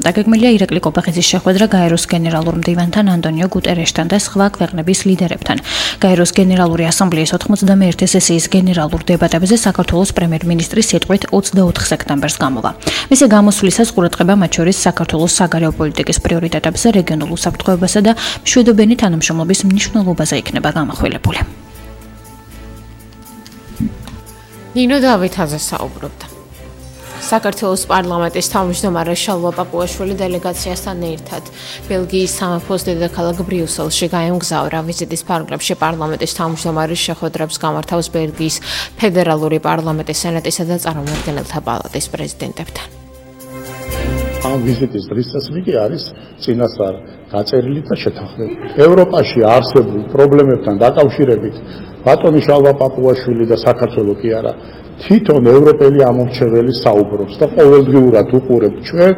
დაგეგმილია ირაკლი კობახიძის შეხვედრა გაეროს გენერალურ მდივანთან ანტონიო გუტერეშთან და სხვა ქვეყნების ლიდერებთან. გაეროს გენერალური ასამბლეის 91 სესიის გენერალურ დებატებზე საქართველოს პრემიერ-მინისტრის სიტყვით 24 სექტემბერს გამოვა. მისი გამოსვლისას ყურადღება მათ შორის საქართველოს საგარეო პოლიტიკის პრიორიტეტებზე, რეგიონულ უსაფრთხოებასა და მშვიდობიანი თანამშრომლობის მნიშვნელობაზე იქნება გამახვილებული. ნინო დავითაძე საუბრობდა. საქართველოს პარლამენტის თავმჯდომარე შალვა პაპუაშვილი დელეგაციასთან ერთად ბელგიის სამეფოს დედაქალაქ ბრიუსელში გაემგზავრა. ვიზიტის ფარგლებში პარლამენტის თავმჯდომარის შეხვედრებს გამართავს ბელგიის ფედერალური პარლამენტის სენატისა და წარმომადგენელთა პალატის პრეზიდენტებთან. ამ ვიზიტის დღესასწაული არის წინასწარ დაწერილი და შეთანხმებული. ევროპაში არსებულ პრობლემებთან დაკავშირებით ბატონი შალვა პაპუაშვილი და საქართველოს კი არა თვითონ ევროპელი ამორჩეველი საუბრობს და ყოველდღიურად უყურებთ ჩვენ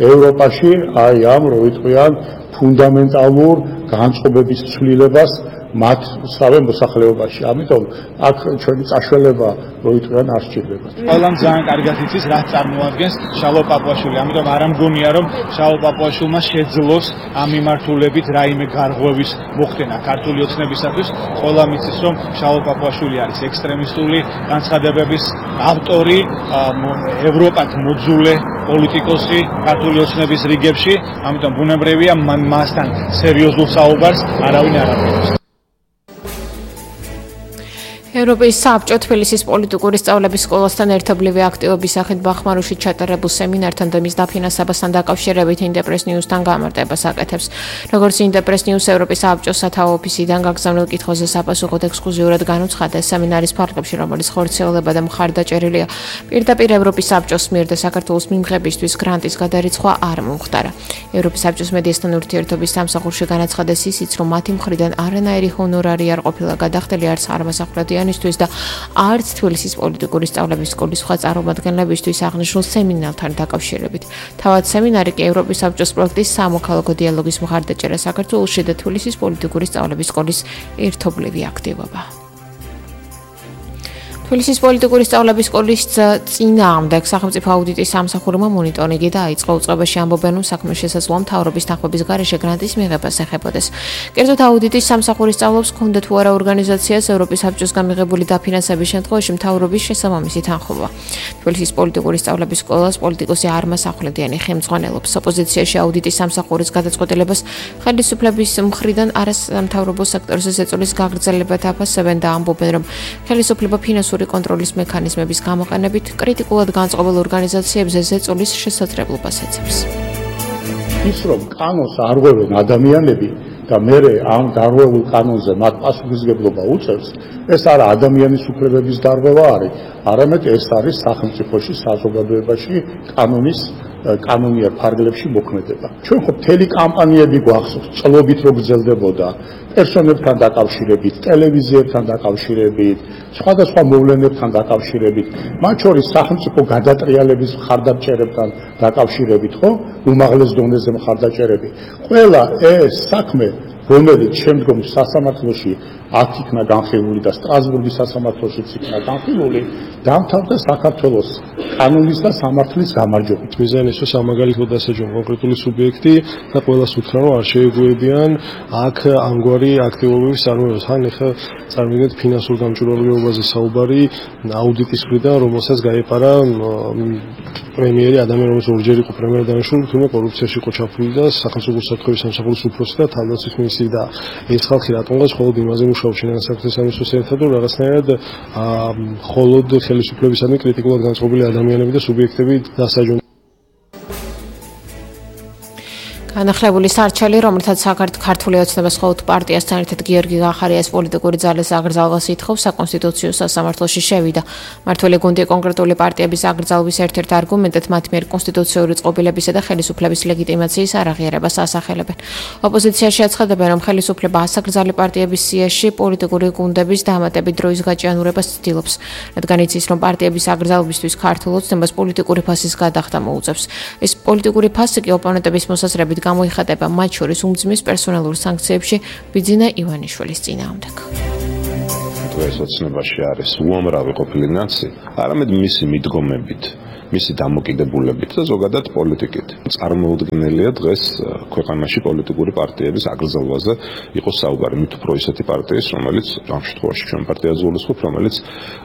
ევროპაში აი ამ როიტყვიან ფუნდამენტალურ განწყობების ცვლილებას მათ სავე მოსახლეობაში. ამიტომ აქ ჩვენი წაშველება როიტყვიან არ სჭირდება. ყველამ ძალიან კარგად იცის რაც წარმოადგენს შალვა პაპუაშვილი. ამიტომ არ ამგონია რომ შალვა პაპუაშვილმა შეძლოს ამ მიმართულებით რაიმე გარღვევის მოხდენა ქართული ოცნებისათვის. ყველამ იცის რომ შალვა პაპუაშვილი არის ექსტრემისტული განცხადებების ავტორი, ევროპად მოძულე პოლიტიკოსი ქართული ოცნების რიგებში. ამიტომ ბუნებრივია მასთან სერიოზულ საუბარს არავინ არ აპირებს. ევროპის საბჭო თბილისის პოლიტიკური სწავლების სკოლასთან ერთობლივი აქტივობის სახით ბახმაროში ჩატარებულ სემინართან და მის დაფინანსებასთან დაკავშირებით ინტერპრეს ნიუსთან გამარტებას აკეთებს. როგორც ინტერპრეს ნიუს ევროპის საბჭოს სათავო ოფისიდან გაგზავნილ კითხვაზე საპასუხოდ ექსკლუზიურად განუცხადა სემინარის ფარგლებში, რომელიც ხორციელება და მხარდაჭერილია პირდაპირ ევროპის საბჭოს მიერ და საქართველოს მიმღებისთვის გრანტის გადარიცხვა არ მომხდარა. ევროპის საბჭოს მედიასთან ურთიერთობის სამსახურში განაცხადეს ისიც, რომ მათი მხრიდან არანაირი ჰონორარი არ ყოფილა გადახდილი არც აღმოსავლეთიან და არც თბილისის პოლიტიკური სწავლების სკოლის სხვა წარმომადგენლებისთვის აღნიშნულ სემინართან დაკავშირებით. თავად სემინარი კი ევროპის საბჭოს პროექტის სამოქალაქო დიალოგის მხარდაჭერა საქართველოში და თბილისის პოლიტიკური სწავლების სკოლის ერთობლივი აქტივობა. თბილისის პოლიტიკური სწავლების სკოლის წინააღმდეგ სახელმწიფო აუდიტის სამსახურმა მონიტორინგი დაიწყო. უწყებაში ამბობენ, რომ საქმის შესაძლოა მთავრობის თანხმობის გარეშე გრანტის მიღებას ეხებოდეს. კერძოდ აუდიტის სამსახურის სწავლობს ჰქონდა თუ არა ორგანიზაციას ევროპის საბჭოს გამიღებული დაფინანსების შემთხვევაში მთავრობის შესაბამისი თანხმობა. თბილისის პოლიტიკური სწავლების სკოლას პოლიტიკოსი არმას ახვლედიანი ხელმძღვანელობს. ოპოზიციაში აუდიტის სამსახურის გადაწყვეტილებას ხელისუფლების მხრიდან არასამთავრობო სექტორზე ზეწოლის გაგრძელებათ აფასებენ და ამბობენ, რომ ხელისუფლება ფინანსური კონტროლის მექანიზმების გამოყენებით კრიტიკულად განწყობილ ორგანიზაციებზე ზეწოლის შესაძლებლობას ეცებს. ის რომ კანონს არ ღვევენ ადამიანები და მე ამ დარღვეულ კანონზე მათ პასუხისმგებლობა უწევს, ეს არა ადამიანის უფლებების დარღვევა არის, არამედ ეს არის სახელმწიფოში საზოგადოებაში კანონიერ ფარგლებში მოქმედება. ჩვენ ხო მთელი კამპანიები გვახსოვს, წლობით რო გრძელდებოდა პერსონებთან დაკავშირებით, ტელევიზიებთან დაკავშირებით, სხვადასხვა მოვლენებთან დაკავშირებით, მათ შორის სახელმწიფო გადატრიალების მხარდაჭერებთან დაკავშირებით, ხო? უმაღლეს დონეზე მხარდაჭერები. ყველა ეს საქმე, რომელიც შემდგომ სასამართლოში აქ იქნა განხილული და სტრასბურგის სასამართლოშიც იქნა განხილული, დამთავრდა საქართველოს კანონის და სამართლის გამარჯვებით. მიზანიც სამაგალითოდ დასაჯონ კონკრეტული სუბიექტი და ყველას უთხრა, რომ არ შეეგუებიან აქ ამგვარი აქტივობების წარმოებას. ან ეხლა წარმოგიდგენთ ფინანსურ გამჭვირვალეობაზე საუბარი აუდიტის მხრიდან, რომელსაც გაეპარა პრემიერი ადამიანი, რომელიც ორჯერ იყო პრემიერ დანიშნული, თუმცა კორუფციაში იყო ჩაფლული და სახელმწიფო უსაფრთხოების სამსახურის უფროსი და თავდაცვის მინისტრი და ეს ხალხი რატომღაც მხოლოდ იმაზე მუშაობს შინაგან საქმეთა სამინისტროს ერთად, რომ რაღაცნაირად მხოლოდ ხელისუფლებისადმი კრიტიკულად განწყობილი ადამიანები და სუბიექტები დასაჯონ. განახლებული სარჩელი, რომელთაც ქართული ოცნებას ხოლმე პარტიასთან ერთად გიორგი გახარიას პოლიტიკური ძალის აკრძალვას ითხოვს, საკონსტიტუციო სასამართლოში შევიდა. მმართველი გუნდი კონკრეტული პარტიების აკრძალვის ერთ-ერთ არგუმენტად მათ მიერ კონსტიტუციური წყობილებისა და ხელისუფლების ლეგიტიმაციის არაღიარებას ასახელებენ. ოპოზიციაში აცხადებენ, რომ ხელისუფლება ასაკრძალი პარტიების სიაში პოლიტიკური გუნდების დამატებით დროის გაჭიანურებას ცდილობს, რადგან იცის, რომ პარტიების აკრძალვისთვის ქართულ ოცნებას პოლიტიკური ფასის გადახდა მოუწევს. ეს პოლიტიკური ფასი კი ოპონენტების მოსაზრებით გამოიხატება მათ შორის უმძიმეს პერსონალურ სანქციებში ბიძინა ივანიშვილის წინააღმდეგ. ეს ოცნებაში არის უამრავი ყოფილი ნაცი, არამედ მისი მიდგომებით მისი დამოკიდებულებით და ზოგადად პოლიტიკით. წარმოუდგენელია დღეს ქვეყანაში პოლიტიკური პარტიების აგრძელვაზე იყოს საუბარი, მით უფრო ისეთი პარტიის, რომელიც ამ შემთხვევაში ჩვენ პარტიას გულისხმობ, რომელიც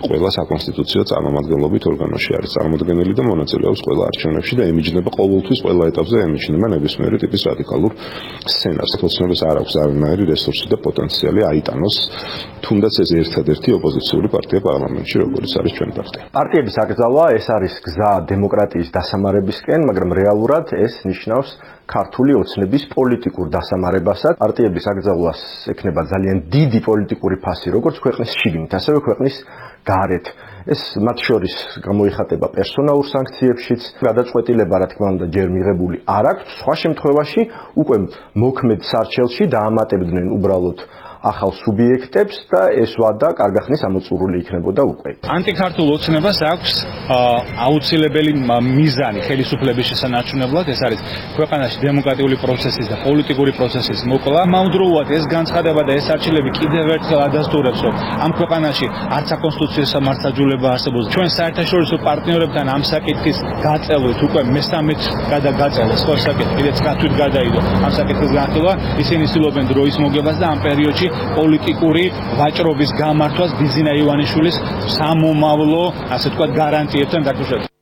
ყველა საკონსტიტუციო წარმომადგენლობით ორგანოში არის წარმოდგენილი და მონაწილეობს ყველა არჩევნებში და ემიჯნება ყოველთვის ყველა ეტაპზე ემიჯნება ნებისმიერი ტიპის რადიკალურ სცენარს. ოცნებას არ აქვს არანაირი რესურსი და პოტენციალი აიტანოს თუნდაც ეს ერთადერთი ოპოზიციური პარტია პარლამენტში, როგორც არის ჩვენი პარტია. პარტიების აკრძალვა ეს არის გზა დემოკრატიის დასამარებისკენ, მაგრამ რეალურად ეს ნიშნავს ქართული ოცნების პოლიტიკურ დასამარებასაც. პარტიების აკრძალვას ექნება ძალიან დიდი პოლიტიკური ფასი, როგორც ქვეყნის შიგნით, ასევე ქვეყნის გარეთ. ეს მათ შორის გამოიხატება პერსონალურ სანქციებშიც, გადაწყვეტილება, რა თქმა უნდა, ჯერ მიღებული არ აქვს, სხვა შემთხვევაში უკვე მოქმედ სარჩელში დაამატებდნენ უბრალოდ ახალ სუბიექტებს და ეს ვადა კარგახნის ამოწურული იქნებოდა უკვე. ანტიქართულ ოცნებას აქვს აუცილებელი მიზანი ხელისუფლების შესანარჩუნებლად, ეს არის ქვეყანაში დემოკრატიული პროცესის და პოლიტიკური პროცესის მოკლა. ამავდროულად ეს განცხადება და ეს არჩევნები კიდევ ერთხელ ადასტურებს, რომ ამ ქვეყანაში არც საკონსტიტუციო სამართლდაძულება არსებობს. ჩვენ საერთაშორისო პარტნიორებთან ამ საკითხის გაწელვით უკვე მესამედ გადაგაწელეს ხო საკითხი, კიდე 9 თვით გადაიდო ამ საკითხის განხილვა. ისინი ცდილობენ დროის მოგებას და ამ პერიოდში პოლიტიკური ვაჭრობის გამართვას ბიზინა ივანიშვილის სამომავლო, ასე ვთქვათ, გარანტიებთან დაკავშირებით.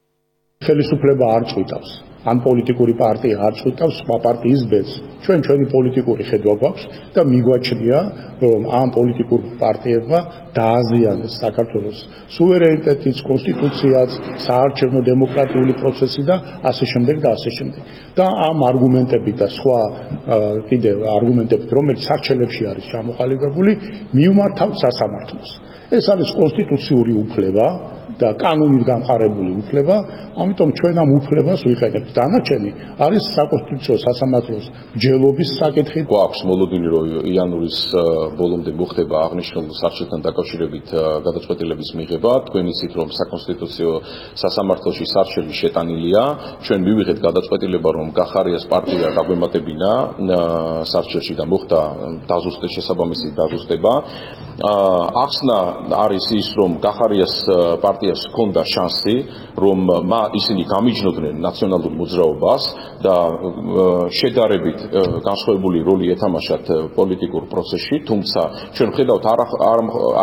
ხელისუფლება არ წვითავს, ან პოლიტიკური პარტია არ წვითავს სხვა პარტიის ბედს. ჩვენი პოლიტიკური ხედვა გვაქვს და მიგვაჩნია, რომ ამ პოლიტიკურ პარტიებმა დააზიანეს საქართველოს სუვერენიტეტიც, კონსტიტუციაც, საარჩევნო დემოკრატიული პროცესი და ასე შემდეგ და ასე შემდეგ. და ამ არგუმენტებით და სხვა კიდევ არგუმენტებით, რომელიც სარჩელებში არის ჩამოყალიბებული, მიუმართავთ სასამართლოს. ეს არის კონსტიტუციური უფლება და კანონით გამყარებული უფლება, ამიტომ ჩვენ ამ უფლებას ვიყენებთ. დანარჩენი არის საკონსტიტუციო სასამართლოს მსჯელობის საკითხი. გვაქვს მოლოდინი, რომ იანვრის ბოლომდე მოხდება აღნიშნულ სარჩელთან დაკავშირებით გადაწყვეტილების მიღება. თქვენ იცით, რომ საკონსტიტუციო სასამართლოში სარჩელი შეტანილია. ჩვენ მივიღეთ გადაწყვეტილება, რომ გახარიას პარტია დაგვემატებინა სარჩელში და მოხდა შესაბამისი დაზუსტება. ახსნა არის ის, რომ გახარიას პარტიას ჰქონდა შანსი, რომ ისინი გამიჯნობდნენ ნაციონალურ მოძრაობას და შედარებით განსხვავებული როლი ეთამაშათ პოლიტიკურ პროცესში, თუმცა ჩვენ ვხედავთ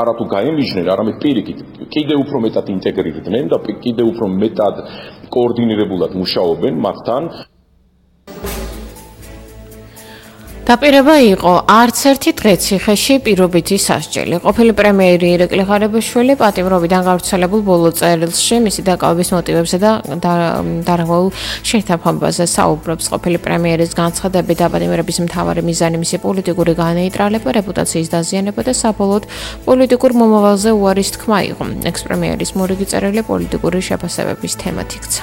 არა თუ გაემიჯნენ, არამედ პირიქით კიდევ უფრო მეტად ინტეგრირდნენ და კიდევ უფრო მეტად კოორდინირებულად მუშაობენ მათთან. დაპირება იყო არც ერთი დღე ციხეში პირობითი სასჯელი. ყოფილი პრემიერი ირაკლი ღარიბაშვილი პატიმრობიდან გავრცელებულ ბოლო წერილში მისი დაკავების მოტივებსა და დარღვეულ შეთანხმებაზე საუბრობს. ყოფილი პრემიერის განცხადებით დაპატიმრების მთავარი მიზანი მისი პოლიტიკური განეიტრალება, რეპუტაციის დაზიანება და საბოლოოდ პოლიტიკურ მომავალზე უარის თქმა იყო. ექს-პრემიერის მორიგი წერილი პოლიტიკური შეფასებების თემად იქცა.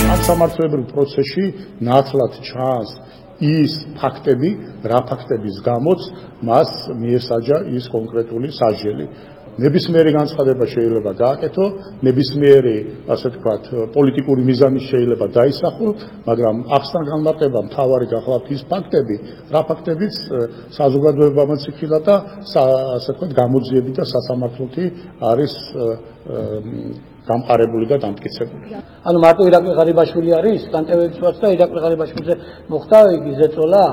ამ სამართლებრივ პროცესში ნათლად ჩანს ის ფაქტები, რა ფაქტების გამოც მას მიესაჯა ის კონკრეტული სასჯელი. ნებისმიერი განცხადება შეიძლება გააკეთო, ნებისმიერი, ასე ვთქვათ, პოლიტიკური მიზანი შეიძლება დაისახო, მაგრამ ახსნა განმარტება მთავარი გახლავთ ის ფაქტები, რა ფაქტებიც საზოგადოებამაც იქილა და ასე ვთქვათ, გამოძიები და სასამართლოთი არის გამყარებული და დამტკიცებული. ანუ მარტო ირაკლი ღარიბაშვილი არის, კანტევების ვარც და ირაკლი ღარიბაშვილზე მოხდა იგი ზეწოლა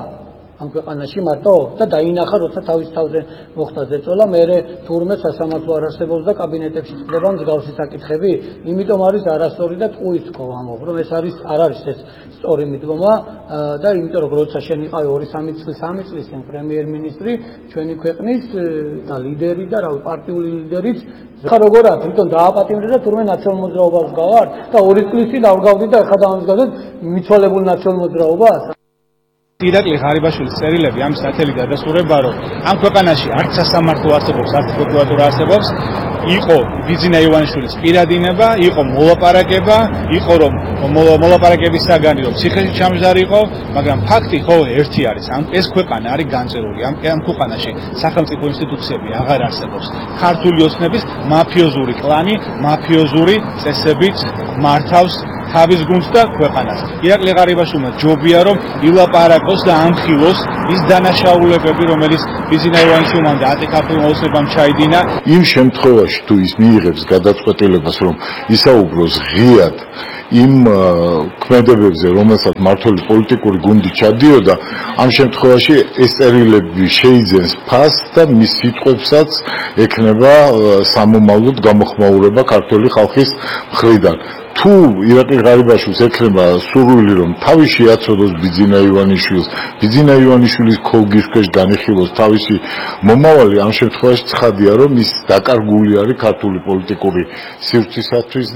ამ ქვეყანაში მარტო და დაინახა, როცა თავის თავზე მოხდა ზეწოლა, მერე თურმე სასამართლო არ არსებობს და კაბინეტებში წდება მსგავსი საკითხები, იმიტომ არის არასწორი და ტყუის თქო ამბობ, რომ ეს არის არ არის ეს სწორი მიდგომა და იმიტომ რომ როცა შენ იყავი 2-3 წლის წინ პრემიერ-მინისტრი, ჩვენი ქვეყნის და ლიდერი და რავი პარტიული ლიდერიც ხა როგორად თვითონ დააპატიმრე და თურმე ნაციონალურ მოძრაობას გავარ და 2 წლის წინ დავგავდი და ახლა დამსგავდეთ მიცვალებულ ნაციონალურ მოძრაობას. ირაკლი ღარიბაშვილის წერილები ამის ნათელი დადასტურება, რომ ამ ქვეყანაში არც სასამართლო არსებობს, არც პროკურატურა არსებობს, იყო ბიზინა ივანიშვილის პირადინება, იყო მოლაპარაკება, იყო რომ მოლაპარაკების საგანი რომ ციხეში ჩამჯდარიყო, მაგრამ ფაქტი ხო ერთი არის, ეს ქვეყანა არის განწერული, ამ ქვეყანაში სახელმწიფო ინსტიტუციები აღარ არსებობს. ქართული ოცნების მაფიოზური კლანი, მაფიოზური წესებით მართავს თავის გუნდს და ქვეყანას. ირაკლი ღარიბაშვილმა ჯობია რომ ილაპარაკოს და ამხილოს ის დანაშაულებები, რომელიც ბიზინა ივანიშვილმა და ატე ქართულმა ოცნებამ ჩაიდინა. იმ შემთხვევაში თუ ის მიიღებს გადაწყვეტილებას რომ ისაუბროს ღიად იმ ქმედებებზე, რომელსაც მართული პოლიტიკური გუნდი ჩადიოდა, ამ შემთხვევაში ეს წერილები შეიძენს ფასს და მის სიტყვებსაც ექნება სამომავლოდ გამოხმაურება ქართული ხალხის მხრიდან. თუ ირაკლი ღარიბაშვილს ექნება სურვილი რომ თავი შეაცოდოს ბიძინა ივანიშვილის ქოლგის ქვეშ განიხილოს თავისი მომავალი, ამ შემთხვევაში ცხადია რომ ის დაკარგული არის ქართული პოლიტიკური სივრცისათვის.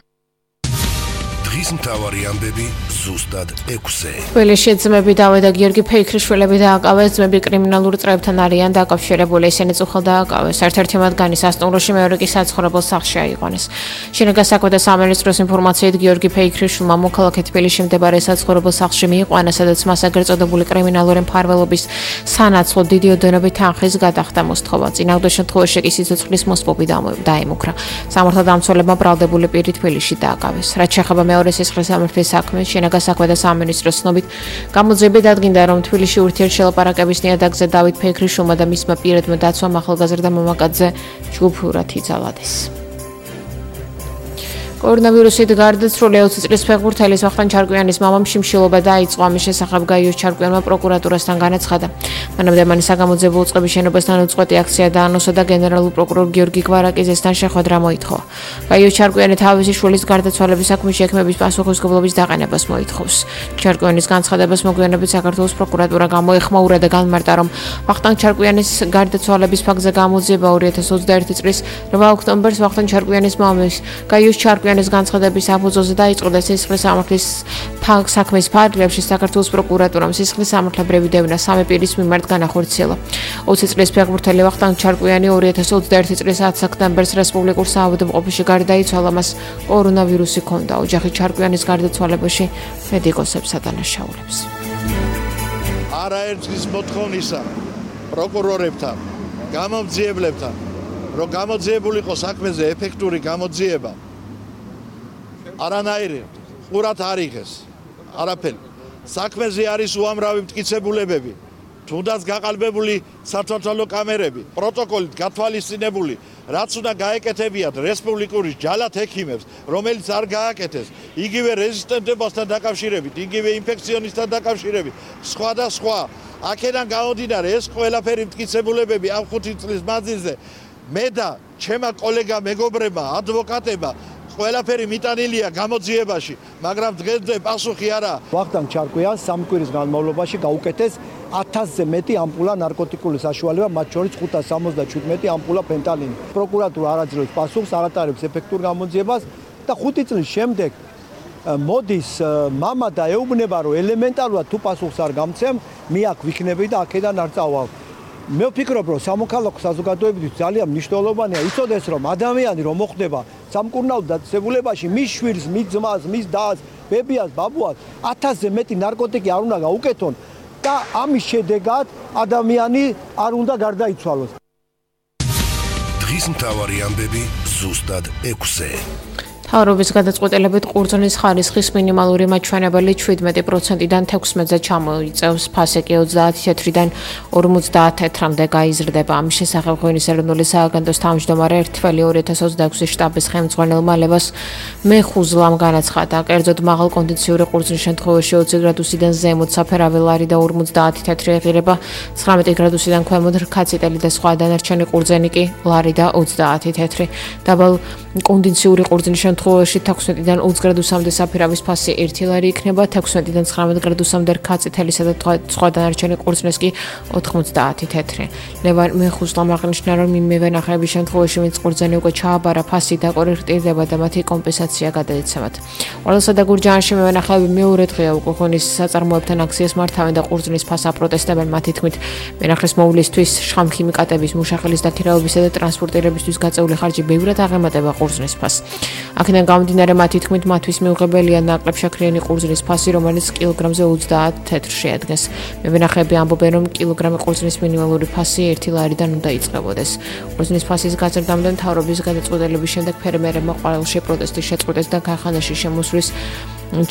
დღის მთავარი ამბები ზუსტად 6-ზე. თბილისში ძმები დავე და გიორგი ფეიქრიშვილები დააკავეს. ძმები კრიმინალურ წრეებთან არიან დაკავშირებული, ისინი წუხელ დააკავეს. ერთ-ერთი მათგანი სასტუმროში, მეორე კი საცხოვრებელ სახლში აიყვანეს. შინაგან საქმეთა სამინისტროს ინფორმაციით გიორგი ფეიქრიშვილმა მოქალაქე თბილისში მდებარე საცხოვრებელ სახლში მიიყვანა, სადაც მას ეგრეთ წოდებული კრიმინალური მფარველობის სანაცვლოდ დიდი ოდენობით თანხის გადახდა მოსთხოვა. წინააღმდეგ შემთხვევაში კი სიცოცხლის მოსპობი დაემუქრა. სამართალდამცველებმა ბრალდებული პირი თბილისში დააკავეს. რაც შეეხება მეორე სისხლის სამართლის საქმეს, შინაგან საქმეთა სამინისტროს ცნობით, გამოძიებით დადგინდა, რომ თბილისში ურთიერთშელაპარაკების ნიადაგზე დავით ფეიქრიშვილმა და მისმა პირადმა დაცვამ ახალგაზრდა მამაკაცზე ჯგუფურად იცალადეს. კორონავირუსით გარდაცვლილი 20 წლის ფეხბურთელის ვახტანგ ჩარკვიანის მამამ შიმშილობა დაიწყო. ამის შესახებ გაიოს ჩარკვიანმა პროკურატურასთან განაცხადა. მანამდე მან საგამოძიებო უწყების შენობასთან უწყვეტი აქცია დაანონსა და გენერალურ პროკურორ გიორგი გვარაკიძესთან შეხვედრა მოითხოვა. გაიოს ჩარკვიანი თავისი შვილის გარდაცვალების საქმის შექმნების პასუხისმგებლობის დაყენებას მოითხოვს. ჩარკვიანის განცხადებას მოგვიანებით საქართველოს პროკურატურა გამოეხმაურა და განმარტა, რომ ვახტანგ ჩარკვიანის გარდაცვალების ფაქტზე გამოძიება 2021 წლის 8 ოქტომბერს ვახტანგ ჩარკვიანის მამის გაიოს ჩარკვიანის განცხადების საფუძველზე დაიწყო და სისხლის სამართლის საქმის ფარგლებში საქართველოს პროკურატურამ სისხლის სამართლებრივი დევნა სამი პირის მიმართ განახორციელა. 20 წლის ფეხბურთელი ვახტანგ ჩარკვიანი 2021 წლის 10 სექტემბერს რესპუბლიკურ საავადმყოფოში გარდაიცვალა, მას კორონავირუსი ჰქონდა. ოჯახი ჩარკვიანის გარდაცვალებაში მედიკოსებს ადანაშაულებს. არაერთგზის მოთხოვნისა პროკურორებთან, გამომძიებლებთან, რომ გამოძიებულიყო საქმეზე ეფექტური გამოძიება, არანაირი ყურად არ იღეს არაფერი. საქმეზე არის უამრავი მტკიცებულებები, თუნდაც გაყალბებული სათვალთვალო კამერები, პროტოკოლით გათვალისწინებული, რაც უნდა გაეკეთებიათ რესპუბლიკური ჯალათ ექიმებს, რომელიც არ გააკეთეს, იგივე რეზისტენტებასთან დაკავშირებით, იგივე ინფექციონისტთან დაკავშირებით, სხვა და სხვა. აქედან გამომდინარე, ეს ყველაფერი მტკიცებულებები ამ 5 წლის მანძილზე მე და ჩემა კოლეგა მეგობრებმა, ადვოკატებმა ყველაფერი მიტანილია გამოძიებაში, მაგრამ დღესდღე პასუხი არა. ვახტანგ ჩარკვიანს 3 კვირის განმავლობაში გაუკეთეს 1000-ზე მეტი ამპულა ნარკოტიკული საშუალება, მათ შორის 577 ამპულა ფენტანილი. პროკურატურა არ აძლევს პასუხს, არ ატარებს ეფექტურ გამოძიებას და 5 წლის შემდეგ მოდის მამა და ეუბნება, რომ ელემენტარულად თუ პასუხს არ გამცემ, მე აქ ვიქნები და აქედან არ წავალ. მე ვფიქრობ, რომ სამოქალაქო საზოგადოებისთვის ძალიან მნიშვნელოვანია იცოდეს, რომ ადამიანი რომ მოხდება სამკურნალო დაწესებულებაში, მის შვილს, მის ძმას, მის დას, ბებიას, ბაბუას 1000-ზე მეტი ნარკოტიკი არ უნდა გაუკეთონ და ამის შედეგად ადამიანი არ უნდა გარდაიცვალოს. დღის მთავარი ამბები ზუსტად 6-ზე. მთავრობის გადაწყვეტილებით ყურძნის ხარისხის მინიმალური მაჩვენებელი 17%-დან 16-ზე ჩამოიწევს, ფასი 30 თეთრიდან 50 თეთრამდე გაიზრდება. ამის შესახებ ღვინის ეროვნული სააგენტოს თავმჯდომარე ერთველი 2026 შტაბის ხელმძღვანელმა ლევას მეხუზლამ განაცხადა, კერძოდ მაღალ კონდიციური ყურძნის შემთხვევაში 20 გრადუსიდან ზემოთ საფერავი ლარი და 50 თეთრი ეღირება, 19 გრადუსიდან ქვემოთ რქაწიტელი და სხვა დანარჩენი ყურძენი კი ლარი და 20 თეთრი. დაბალ კონდიციური ყურძნის შემთხვევაში 16-დან 20 გრადუსამდე საფერავის ფასი 1 ლარი იქნება, 16-დან 19 გრადუსამდე რქაწითელისა და სხვა დანარჩენი ყურძნის კი 90 თეთრი. ლევან მეხუზლამ აღნიშნა, რომ იმევე ნახეების შემთხვევაში ვინც ყურძენი უკვე ჩააბარა, ფასი დაკორექტირდება და მათი კომპენსაცია გადაეცემათ. ყველასა და გურჯაანში მევენახეები მეორე დღეა უკვე ღვინის საწარმოებთან აქციას მართავენ და ყურძნის ფასს აპროტესტებენ. მათი თქმით, მენახეს მოვლისთვის შხამქიმიკატების, მუშახელის დაქირავებისა და ტრანსპორტირებისთვის გაწეული ხარჯი ბევრად აღემატება ყურძნის ფასს. აქედან გამომდინარე, მათი თქმით, მათთვის მიუღებელია ნაკლებ შაქრიანი ყურძნის ფასი, რომელიც კილოგრამზე 20 თეთრს შეადგენს. მევენახეები ამბობენ, რომ კილოგრამი ყურძნის მინიმალური ფასი 1 ლარიდან უნდა იწყებოდეს. ყურძნის ფასის გაზრდამდე მთავრობის გადაწყვეტილების შემდეგ ფერმერებმა ყოველში პროტესტის შეწყვეტეს და ქარხანაში შემოსვლის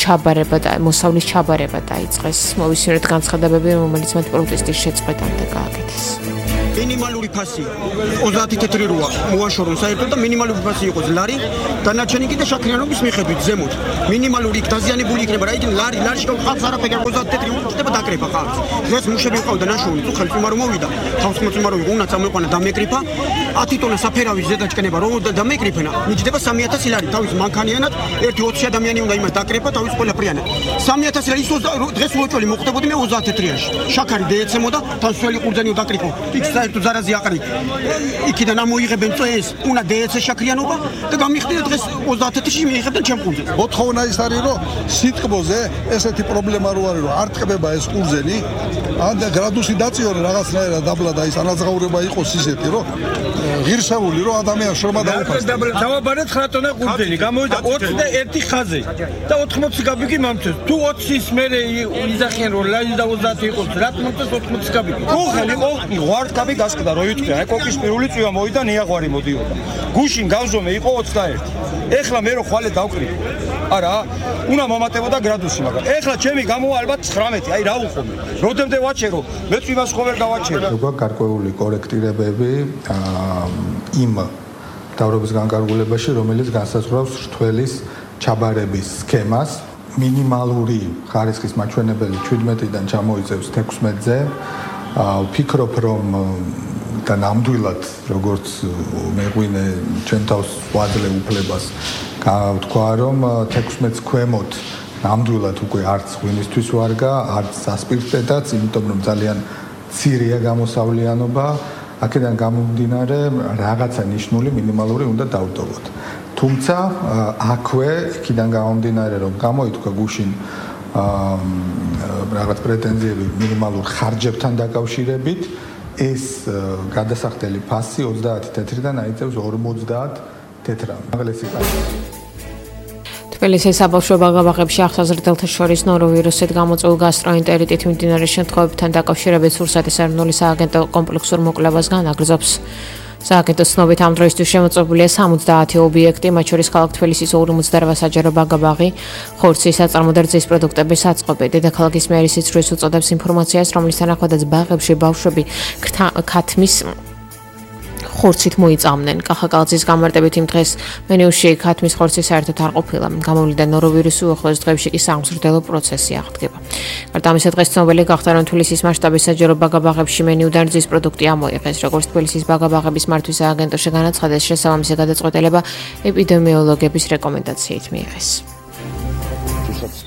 ჩაბარება და მოსავლის ჩაბარება დაიწყეს. მოვისმინოთ განცხადებები, რომელიც მათ პროტესტის შეწყვეტამდე გააკეთეს. მინიმალური ფასი 30 თეთრი როა მოაშორონ საერთოდ და მინიმალური ფასი იყოს ლარი დანარჩენი კიდე შაქრიანობის მიხედვით ზემოთ მინიმალური დაზიანებული იქნება რა იქნება ლარში ყავს არაფერი 30 თეთრი ხდება დაკრება ხალხს დღეს მუშები ყავდა ნაშოვნი თუ ხელმწიფარო მოვიდა თავს მოწმარო უნდა წამოიყვანა დამეკრიფა 10 ტონა საფერავის ზედაჭკნება რომ დამეკრიფენა მიჯდება 3000 ლარი თავის მანქანიანად 1-20 ადამიანი უნდა იმას დაკრება თავის ყველაფრიანად 3000 ლარი ის დღეს უოჭველი მოხდებოდი მე 30 თეთრიაში შაქარი დაეცემოდა თავსველი ყურძენი დაკრიფო იქ საერთოდ ზარაზი აყრი იქიდან ამოიღებენ წეს უნდა დაეცე შაქრიანობა და გამიხდიდა დღეს 30 თეთრში მიიღებდნენ ჩემ ყურძენს მოთხოვნა ის არის რომ სიტყვაზე ესეთი პრობლემა რო არის რომ არ ტყდება ეს ყურძენი ან და გრადუსი დაწიორე რაღაცნაირად დაბლა და ის ანაზღაურება იყოს ისეთი რომ ღირსეული რომ ადამიანს შრომა დაუფასდა დავაბარეთ 9 ტონა ყურძენი გამოვიდა 21 ხაზი და 80 კაპიკი მომწეს თუ 20-ის მერე იზახიან რომ ლაიზ და 30 იყოს რა მომწეს 80 კაპიკი ხელი ყოლი ვარ კაპი გასკდა რო იტყვი აი კოკის პირველი წვივა მოვიდა ნიაღვარი მოდიოდა გუშინ გავზომე იყო 21 ეხლა მე რო ხვალე დავკრი არა უნდა მომატებოდა გრადუსი მაგრამ ეხლა ჩემი გამოვა ალბათ 19 აი რა უყომე როდემდე ვაჩერო მე წვივას ხო ვერ გავაჩერო როგორ გარკვეული კორექტირებები იმ დავრობის განკარგულებაში რომელიც განსაზღვრავს რთველის ჩაბარების სქემას მინიმალური ხარისხის მაჩვენებელი 17-დან ჩამოიწევს 16-ზე ვფიქრობ რომ და ნამდვილად როგორც მეღვინე ჩვენ თავს ვაძლევ უფლებას გავთქვა რომ 16-ს ქვემოთ ნამდვილად უკვე არც ღვინისთვის ვარგა არც სასპირტედაც იმიტომ რომ ძალიან ცირია გამოსავლიანობა აქედან გამომდინარე რაღაცა ნიშნული მინიმალური უნდა დავტოვოთ თუმცა აქვე იქიდან გამომდინარე რომ გამოითქვა გუშინ რაღაც პრეტენზიები მინიმალურ ხარჯებთან დაკავშირებით ეს გადასახდელი ფასი 30 თეთრიდან აიწევს 50 თეთრამდე. თბილისის საბავშვო ბაღ-ბაღებში ახსაზრდელთა შორის ნოროვირუსით გამოწვეულ გასტროენტერიტით მიმდინარე შემთხვევებთან დაკავშირებით სურსათის ეროვნული სააგენტო კომპლექსურ მოკვლევას განაგრძობს. სააგენტოს ცნობით ამ დროისთვის შემოწმებულია 70 ობიექტი, მათ შორის ქალაქ თბილისის 48 საჯარო ბაღ-ბაღი, ხორცის საწარმო და რძის პროდუქტების საწყობი. დედაქალაქის მერის სიცრუეს უწოდებს ინფორმაციას, რომლის თანახმადაც ბაღებში ბავშვები ქათმის ხორცით მოიწამნენ. კახაკალძის გამარტებით იმ დღეს მენიუში ქათმის ხორცი საერთოდ არ ყოფილა. გამოვლინდა ნოროვირუსი, უახლოეს დღეებში კი სამზრდელო პროცესი აღდგება. გარდა ამისა, დღეს ცნობილი გახდა, რომ თბილისის მასშტაბის საჯარო ბაღ-ბაღებში მენიუდან რძის პროდუქტი ამოიღეს. როგორც თბილისის ბაღ-ბაღების მართვის სააგენტოში განაცხადეს, შესაბამისი გადაწყვეტილება ეპიდემიოლოგების რეკომენდაციით მიიღეს.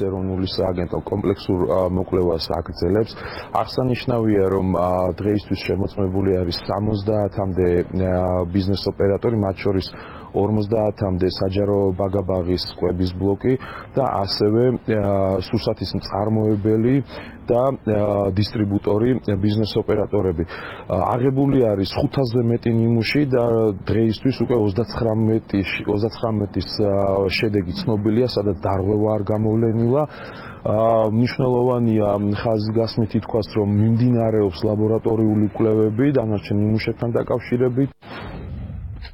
ეროვნული სააგენტო კომპლექსურ მოკვლევას აგრძელებს. აღსანიშნავია, რომ დღეისთვის შემოწმებული არის 70-მდე ბიზნეს ოპერატორი, მათ შორის 50-მდე საჯარო ბაღ-ბაღის კვების ბლოკი და ასევე სურსათის მწარმოებელი და დისტრიბუტორი ბიზნეს ოპერატორები. აღებული არის 500-ზე მეტი ნიმუში და დღეისთვის უკვე 39-ის შედეგი ცნობილია, სადაც დარღვევა არ გამოვლენილა. მნიშვნელოვანია ხაზგასმით ითქვას, რომ მიმდინარეობს ლაბორატორიული კვლევები დანარჩენ ნიმუშებთან დაკავშირებით.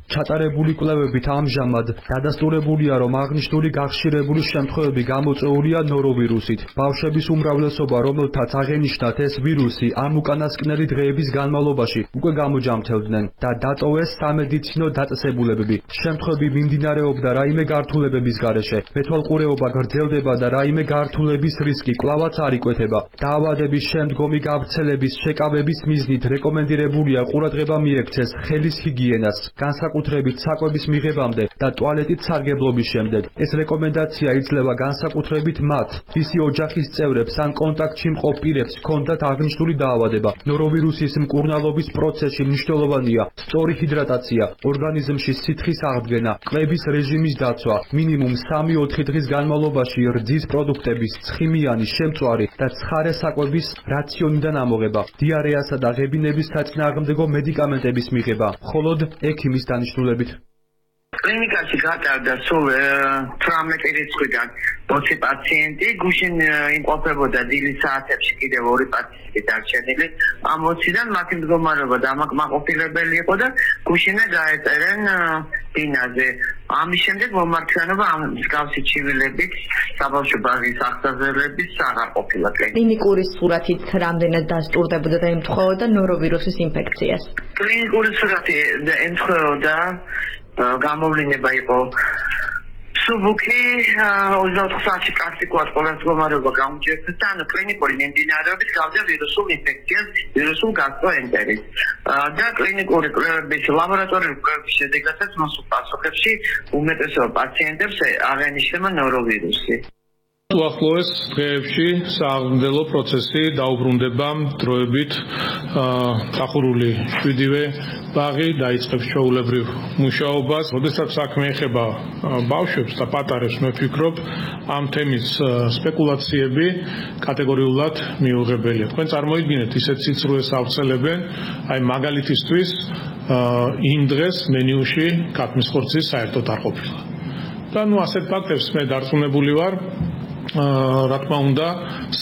ჩატარებული კვლევებით ამჟამად დადასტურებულია, რომ აღნიშნული გახშირებული შემთხვევები გამოწვეულია ნოროვირუსით. ბავშვების უმრავლესობა, რომელთაც აღენიშნათ ეს ვირუსი, ამ უკანასკნელი დღეების განმავლობაში უკვე გამოჯამთევდნენ და დატოვეს სამედიცინო დაწესებულებები. შემთხვევები მიმდინარეობდა რაიმე გართულებების გარეშე. მეთვალყურეობა გრძელდება და რაიმე გართულების რისკი კვლავაც არ იკვეთება. დაავადების შემდგომი გავრცელების შეკავების მიზნით რეკომენდირებულია ყურადღება მიექცეს ხელის ჰიგიენას. განსაკუთრებით საკვების მიღებამდე და ტუალეტით სარგებლობის შემდეგ. ეს რეკომენდაცია იძლევა განსაკუთრებით მათ, ვისი ოჯახის წევრებს ან კონტაქტში მყოფ პირებს ჰქონდათ აღნიშნული დაავადება. ნოროვირუსის მკურნალობის პროცესში მნიშვნელოვანია სწორი ჰიდრატაცია, ორგანიზმში სითხის აღდგენა, ყლების რეჟიმის დაცვა, მინიმუმ 3-4 დღის განმავლობაში რძის პროდუქტების, ცხიმიანი, შემწვარი და ცხარე საკვების რაციონიდან ამოღება, დიარეასა და ღებინების საწინააღმდეგო მედიკამენტების მიღება, მხოლოდ ექიმის დანიშნულებით. კლინიკაში გატარდა სულ 18 რიცხვიდან 20 პაციენტი, გუშინ იმყოფებოდა დილის საათებში კიდევ 2 პაციენტი დარჩენილი. ამ 20-დან მათი მდგომარეობა დამაკმაყოფილებელი იყო და გუშინე გაეწერენ ბინაზე. ამის შემდეგ მომართვიანობა ამ მსგავსი ჩივილებით საბავშვო ბაღის აღსაზრდელების აღარ ყოფილა. კლინიკური სურათით რამდენად დასტურდებოდა და ემთხვეოდა ნოროვირუსის ინფექციას? კლინიკური სურათი ემთხვეოდა გამოვლინება იყო სუბუქი 24 საათში პრაქტიკულად ყველა მდგომარეობა გამოჯერდა და ანუ კლინიკური მიმდინარეობით გავდა ვირუსულ ინფექციას, ვირუსულ გასტროენტერით. და კლინიკური კვლევების ლაბორატორიული კვლევების შედეგადაც მოსულ პასუხებში უმეტესობა პაციენტებს აღენიშნება ნოროვირუსი. უახლოეს დღეებში სააღმრთელო პროცესი დაუბრუნდება დროებით დახურული 7-ვე ბაღი დაიწყებს ჩვეულებრივ მუშაობას. როდესაც საქმე ეხება ბავშვებს და პატარებს, მე ვფიქრობ, ამ თემის სპეკულაციები კატეგორიულად მიუღებელია. თქვენ წარმოიდგინეთ, ისეთ სიცრუეს ავრცელებენ, აი მაგალითისთვის იმ დღეს მენიუში კატმის ხორცის საერთოდ არ ყოფილა. და ნუ ასეთ ფაქტებს მე დარწმუნებული ვარ, რა თქმა უნდა,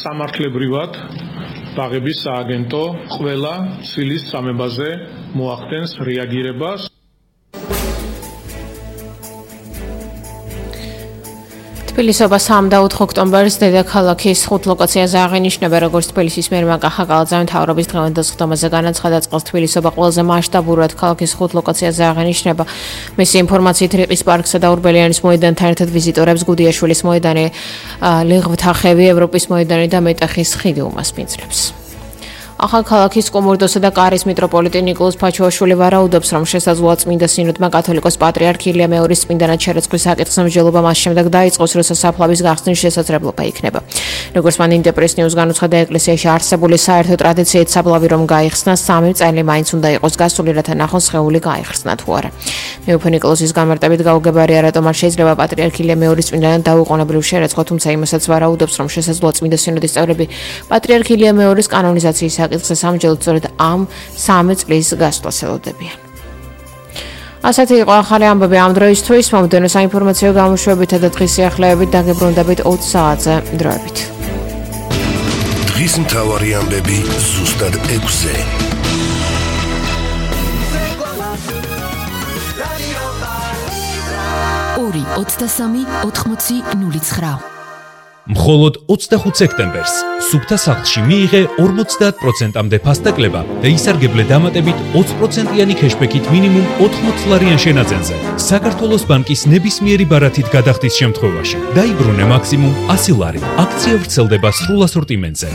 სამართლებრივად ბაღების სააგენტო ყველა ცილის სამებაზე მოახდენს რეაგირებას. თბილისობა 3 და 4 ოქტომბერს დედაქალაქის 5 ლოკაციაზე აღენიშნება, როგორც თბილისის მერმა კახაკალაძე მთავრობის დღევანდელ სხდომაზე განაცხადა, წყალს თბილისობა ყველაზე მასშტაბურად ქალაქის 5 ლოკაციაზე აღენიშნება. მისი ინფორმაციით, რიყის პარკსა და ურბელიანის მოედანთან ერთად ვიზიტორებს გუდიაშვილის მოედანი, ლეღვთახევი, ევროპის მოედანი და მეტახის ხიდი უმასპინძლებს. ახალქალაქის კუმურდოსა და კარის მიტროპოლიტი ნიკოლოზ ფაჩუაშვილი ვარაუდობს, რომ შესაძლოა წმინდა სინოდმა კათოლიკოს პატრიარქ ილია მეორის წმინდანად შერაცხვის საკითხზე მსჯელობა მას შემდეგ დაიწყოს, როცა საფლავის გახსნის შესაძლებლობა იქნება. როგორც მან ინტერპრეს ნიუს განუცხადა, ეკლესიაში არსებული საერთო ტრადიციით საფლავი რომ გაიხსნა, 3 წელი მაინც უნდა იყოს გასული, რათა ნახოს სხეული გაიხსნა თუ არა. მეუფე ნიკოლოზის გამარტებით გაუგებარია, რატომ არ შეიძლება პატრიარქ ილია მეორის წმინდანად დაუყოვნებლივ შერაცხვა, თუმცა იმასაც ვარაუდობს, რომ შესაძლოა წმინდა სინოდის წევრები პატრიარქ ილია მეორის კანონიზაციის საკითხზე სამჯელოდ სწორედ ამ 3 წლის გასვლას ელოდებიან. ასეთი იყო ახალი ამბები ამ დროისთვის. მომდევნო საინფორმაციო გამოშვებითა და დღის სიახლეებით დაგებრუნდებით 20 საათზე დროებით. დღის მთავარი ამბები ზუსტად 6-ზე. 2-23-80-09. მხოლოდ 25 სექტემბერს სუფთა სახლში მიიღე 50%-მდე ფასტაკლება და ისარგებლე დამატებით 20%-იანი ქეშბექით მინიმუმ 80 ლარიან შენაძენზე. საქართველოს ბანკის ნებისმიერი ბარათით გადახდის შემთხვევაში დაიბრუნე მაქსიმუმ 100 ლარი. აქცია ვრცელდება სრულ ასორტიმენტზე.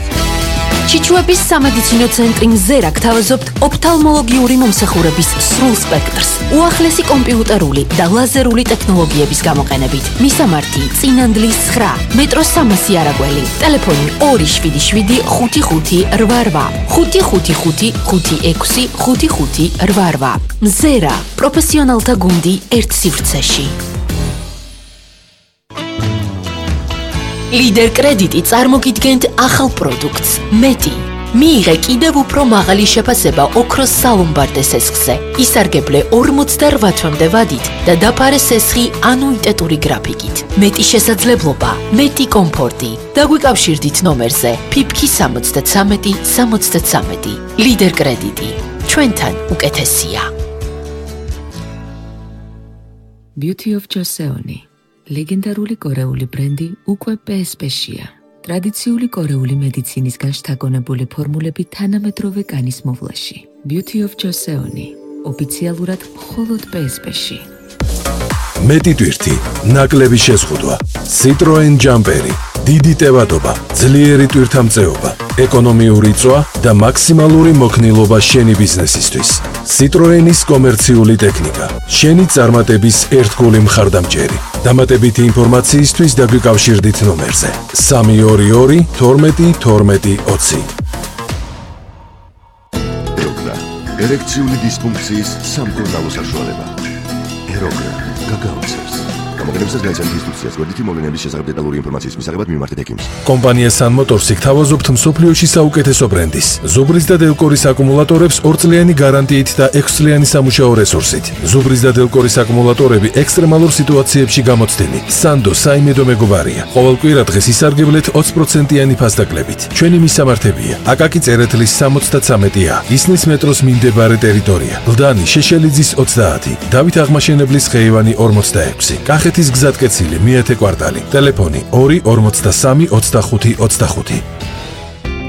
ჩიჩუების სამედიცინო ცენტრი მზერა გთავაზობთ ოფთალმოლოგიური მომსახურების სრულ სპექტრს, უახლესი კომპიუტერული და ლაზერული ტექნოლოგიების გამოყენებით. მისამართი: წინანდლის 9, მეტროს 300 არაგველი, ტელეფონი 277 55 88, 555 56 55 88. მზერა, პროფესიონალთა გუნდი ერთ სივრცეში. ლიდერ კრედიტი წარმოგიდგენთ ახალ პროდუქტს მეტი. მიიღე კიდევ უფრო მაღალი შეფასება ოქროს სალომბარდე სესხზე. ისარგებლე 48 თვემდე ვადით და დაფარე სესხი ანუიტეტური გრაფიკით. მეტი შესაძლებლობა, მეტი კომფორტი. დაგვიკავშირდით ნომერზე ფიფქი 73 73. ლიდერ კრედიტი. ჩვენთან უკეთესია. Beauty of Joseon. ლეგენდარული კორეული ბრენდი უკვე PSP-შია. ტრადიციული კორეული მედიცინისგან შთაგონებული ფორმულები თანამედროვე კანის მოვლაში. Beauty of Joseon. ოფიციალურად მხოლოდ PSP-ში. მეტი ტვირთი, ნაკლები შეზღუდვა. Citroen Jumperi. დიდი ტევადობა, ძლიერი ტვირთამწეობა, ეკონომიური წვა და მაქსიმალური მოქნილობა შენი ბიზნესისთვის. Citroenis კომერციული ტექნიკა. შენი წარმატების ერთგული მხარდამჭერი. დამატებითი ინფორმაციისთვის დაგვიკავშირდით ნომერზე 322 12 12 20. ეროგრა, ერექციული დისფუნქციის სამკურნალო საშუალება. ეროგრა გაგაოცებს. გამოყენებისას განიცადეთ ინსტრუქციას გვერდითი მოვლენების შესახებ დეტალური ინფორმაციის მისაღებად მიმართეთ ექიმს. კომპანია Sun Motors-ი გთავაზობთ მსოფლიოში საუკეთესო ბრენდის. ზუბრის და დელკორის აკუმულატორებს 2 წლიანი გარანტიით და 6 წლიანი სამუშაო რესურსით. ზუბრის და დელკორის აკუმულატორები ექსტრემალურ სიტუაციებში გამოცდილი. Sando საიმედო მეგობარია. ყოველ კვირა დღეს ისარგებლეთ 20%-იანი ფასდაკლებით. ჩვენი მისამართებია: აკაკი წერეთლის 73-ა, ისნის მეტროს მიმდებარე ტერიტორია, ლდანი შეშელიძის 30, დავით აღმაშენებლის ხეივანი 46, კახეთის გზატკეცილი მეათე კვარტალი, ტელეფონი 2 43 25 25.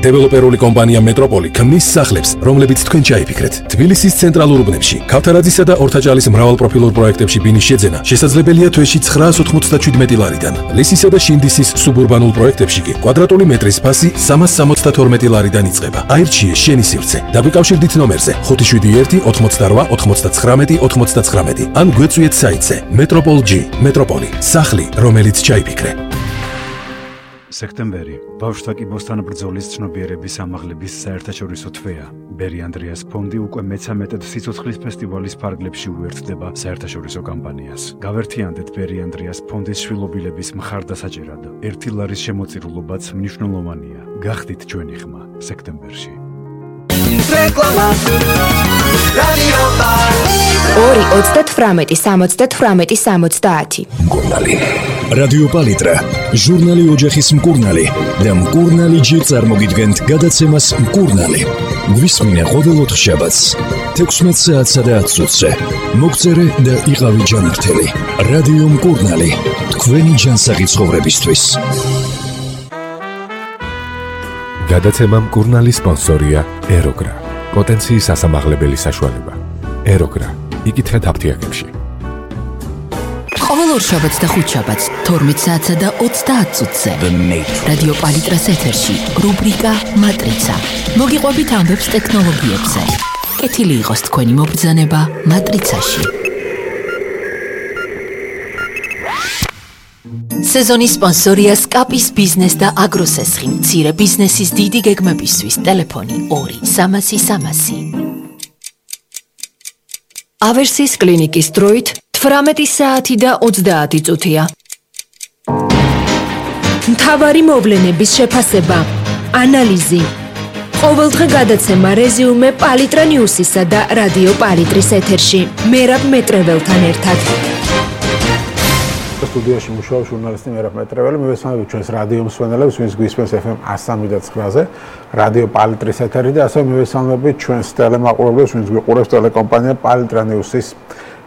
დეველოპერული კომპანია მეტროპოლი ქმნის სახლებს, რომლებიც თქვენ ჩაიფიქრეთ. თბილისის ცენტრალურ უბნებში, ქავთარაძისა და ორთაჭალის მრავალპროფილურ პროექტებში ბინის შეძენა შესაძლებელია თვეში 997 ლარიდან. ლისისა და შინდისის სუბურბანულ პროექტებში კი კვადრატული მეტრის ფასი 372 ლარიდან იწყება. აირჩიე შენი სივრცე. დაგვიკავშირდით ნომერზე 571 88 99 99 ან გვეწვიეთ საიტზე Metropol.G. მეტროპოლი, სახლი, რომელიც ჩაიფიქრე. სექტემბერი ბავშვთა კიბოსთან ბრძოლის ცნობიერების ამაღლების საერთაშორისო თვეა. ბერი ანდრიას ფონდი უკვე მე-13 სიცოცხლის ფესტივალის ფარგლებში უერთდება საერთაშორისო კამპანიას. გავერთიანდეთ ბერი ანდრიას ფონდის შვილობილების მხარდასაჭერად. 1 ლარის შემოწირულობაც მნიშვნელოვანია. გახდით ჩვენი ხმა სექტემბერში. რეკლამა რადიო პალიტრა 2 38 70 მკურნალი რადიო პალიტრა ჟურნალი ოჯახის მკურნალი და მკურნალი ჯერ წარმოგიდგენთ გადაცემას მკურნალი გვისმინე ყოველ ოთხშაბათს 16 საათსა და 10 წუთზე მოგწერე და იყავი ჯანმრთელი რადიო მკურნალი თქვენი ჯანსაღი ცხოვრებისთვის გადაცემა მკურნალის სპონსორია ეროგრა პოტენციის ასამაღლებელი საშუალება ეროგრა იკითხეთ აფთიაქებში ყოველ ორშაბათს და ხუთშაბათს 12 საათსა და 30 წუთზე რადიო პალიტრას ეთერში რუბრიკა მატრიცა მოგიყვებით ამბებს ტექნოლოგიებზე კეთილი იყოს თქვენი მობრძანება მატრიცაში სეზონის სპონსორია სკაპის ბიზნეს და აგროსესხი მცირე ბიზნესის დიდი გეგმებისთვის ტელეფონი 2 300 300 ავერსის კლინიკის დროით 18 საათი და 30 წუთია. მთავარი მოვლენების შეფასება, ანალიზი. ყოველდღე გადაცემა რეზიუმე პალიტრა ნიუსისა და რადიო პალიტრის ეთერში. მერაბ მეტრეველთან ერთად. სტუდიაში მუშაობს ჟურნალისტი მერაბ მეტრეველი. მივესალმებით ჩვენს რადიო მსმენელებს, ვინც გვისმენს FM 103.9-ზე, რადიო პალიტრის ეთერი და ასევე მივესალმებით ჩვენს ტელემაყურებლებს, ვინც გვიყურებს ტელეკომპანია პალიტრა ნიუსის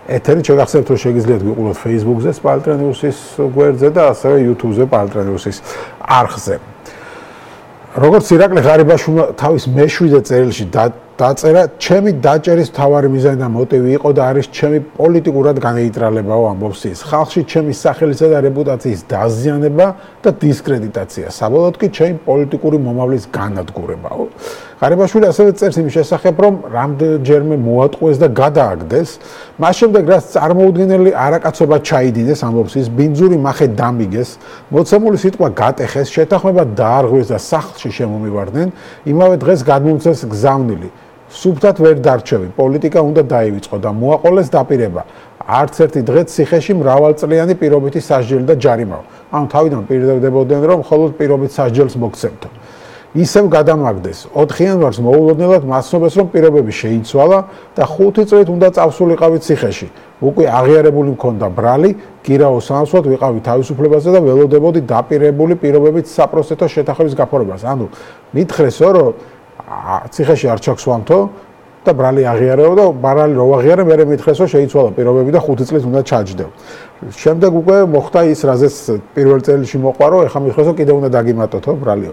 ეთერი. შეგახსენებთ, რომ შეგიძლიათ ვიყუროთ Facebook-ზე პალიტრა ნიუსის გვერდზე და ასევე YouTube-ზე პალიტრა ნიუსის არხზე. როგორც ირაკლი ღარიბაშვილმა თავის მე-7 წერილში დაწერა, ჩემი დაჭერის მთავარი მიზანი და მოტივი იყო და არის ჩემი პოლიტიკურად განეიტრალებაო ამბობს ის. ხალხში ჩემი სახელისა და რეპუტაციის დაზიანება და დისკრედიტაცია. საბოლოოდ კი ჩემი პოლიტიკური მომავლის განადგურებაო. ღარიბაშვილი ასევე წერს იმის შესახებ, რომ რამდენჯერმე მოატყუეს და გადააგდეს, მას შემდეგ რაც წარმოუდგენელი არაკაცობა ჩაიდინეს, ამბობს ის, ბინძური მახე დამიგეს, მოცემული სიტყვა გატეხეს, შეთანხმება დაარღვეს და სახლში შემომივარდნენ, იმავე დღეს გადმომცეს გზავნილი. სუფთად ვერ დარჩევი, პოლიტიკა უნდა დაივიწყო და მოაყოლეს დაპირება. არც ერთი დღეც ციხეში მრავალწლიანი პირობითი სასჯელი და ჯარიმაო. ანუ თავიდან პირდებოდნენ, რომ მხოლოდ პირობით სასჯელს მოგცემთო. ისევ გადამაგდეს. 4 იანვარს მოულოდნელად მასწავლეს, რომ პირობები შეიცვალა და 5 წლით უნდა წავსულიყავით ციხეში. უკვე აღიარებული მქონდა ბრალი, გირაო სამსვათ ვიყავი თავისუფლებაზე და ველოდებოდი დაპირებული პირობებით საპროცესო შეთანხმების გაფორმებას. ანუ მითხრესო, რომ ციხეში არ ჩაგვსვამთო და ბრალი აღიარეო და ბრალი რო აღიარე, მე მითხრესო შეიცვალა პირობები და 5 წლით უნდა ჩაჯდევ. შემდეგ უკვე მოხდა ის, რაზეც პირველ წერილში მოყვა, რომ ეხა მითხრესო კიდე უნდა დაგიმატოთო ბრალიო.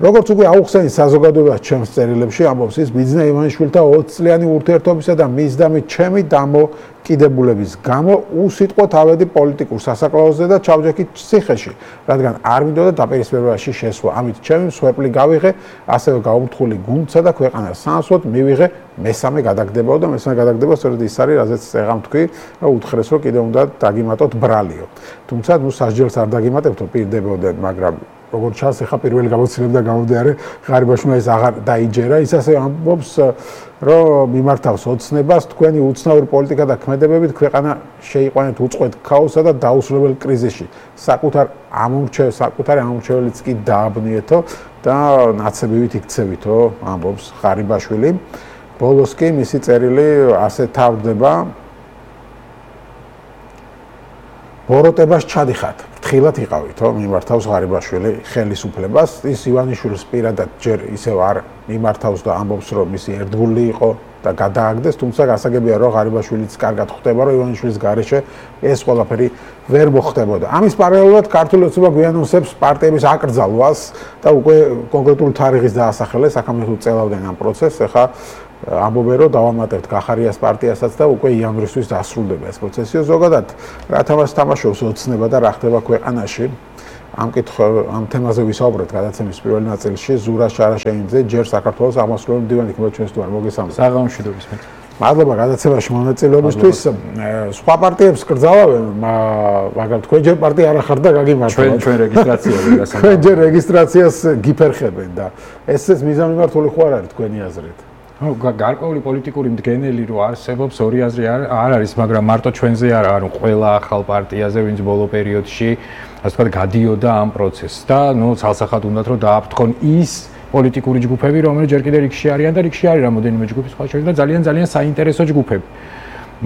როგორც უკვე აუხსენი საზოგადოებას ჩემს წერილებში ამბობს ის, ბიძინა ივანიშვილთა 20 წლიანი ურთიერთობისა და მის და ჩემი დამოკიდებულების გამო უსიტყვოდ ავედი პოლიტიკურ სასაკლაოზე და ჩავჯექი ციხეში, რადგან არ მინდოდა დაპირისპირებაში შესვლა. ამით ჩემი მსხვერპლი გავიღე, ასევე გაუმთხული გუნდსა და ქვეყანას სამსვოდ მივიღე მესამე გადაგდებაო და მესამე გადაგდება სწორედ ის არის, რაზეც წეღამ თქვი, რომ უთხრეს, რომ კიდე უნდა დაგიმატოთ ბრალიო. თუმცა ნუ სასჯელს არ დაგიმატებთო, პირდებოდნენ, მაგრამ როგორც ჩანს, ეხა პირველი გამოცდილება და გამოდიარე ღარიბაშვილმა ეს აღარ დაიჯერა, ის ასე ამბობს, რომ მიმართავს ოცნებას, თქვენი უცნაური პოლიტიკა და ქმედებებით ქვეყანა შეიყვანეთ უწყვეტ ქაოსსა და დაუსრულებელ კრიზისში. საკუთარი ამორჩეველიც კი დააბნიეთო და ნაცებივით იქცევითო, ამბობს ღარიბაშვილი. ბოლოს კი მისი წერილი ასე თავდება. ბოროტებას ჩადიხართ. ფრთხილად იყავითო, მიმართავს ღარიბაშვილი ხელისუფლებას. ის ივანიშვილს პირადად ჯერ ისევ არ მიმართავს და ამბობს, რომ მისი ერთგული იყო და გადააგდეს, თუმცა გასაგებია, რომ ღარიბაშვილიც კარგად ხვდება, რომ ივანიშვილის გარეშე ეს ყველაფერი ვერ მოხდებოდა. ამის პარალელურად ქართული ოცნება გვიანონსებს პარტიების აკრძალვას და უკვე კონკრეტული თარიღის დაასახელეს, აქამდე წელავდნენ ამ პროცესს, ეხა ამბობენ, რომ დავამატებთ გახარიას პარტიასაც და უკვე იანვრისთვის დასრულდება ეს პროცესი. ზოგადად, რა თამაშს თამაშობს ოცნება და რა ხდება ქვეყანაში? ამ თემაზე ვისაუბრეთ გადაცემის პირველ ნაწილში. ზურა შარაშენიძე ჯერ საქართველოს აღმასრულებელი მდივანი იქნება ჩვენს თუ არ მოგესალმებით. საღამოშიდობის მე. მადლობა გადაცემაში მონაწილეობისთვის. სხვა პარტიებს კრძალავენ, მაგრამ თქვენ ჯერ პარტია არ ახართ და გაგიმართებთ. ჩვენ რეგისტრაციაზე გასაგებია. თქვენ ჯერ რეგისტრაციას გიფერხებენ და ესეც მიზანმიმართული ხო არ არის თქვენი აზრით? გარკვეული პოლიტიკური მდგენელი რო არსებობს, ორი აზრი არ არის, მაგრამ მარტო ჩვენზე არ არის, ყველა ახალ პარტიაზე, ვინც ბოლო პერიოდში, ასე ვთქვათ, გადიოდა ამ პროცესს და ცალსახად უნდათ რომ დააფრთხონ ის პოლიტიკური ჯგუფები, რომელიც ჯერ კიდევ რიგში არიან და რიგში არის რამოდენიმე ჯგუფი სხვა შორის და ძალიან საინტერესო ჯგუფები.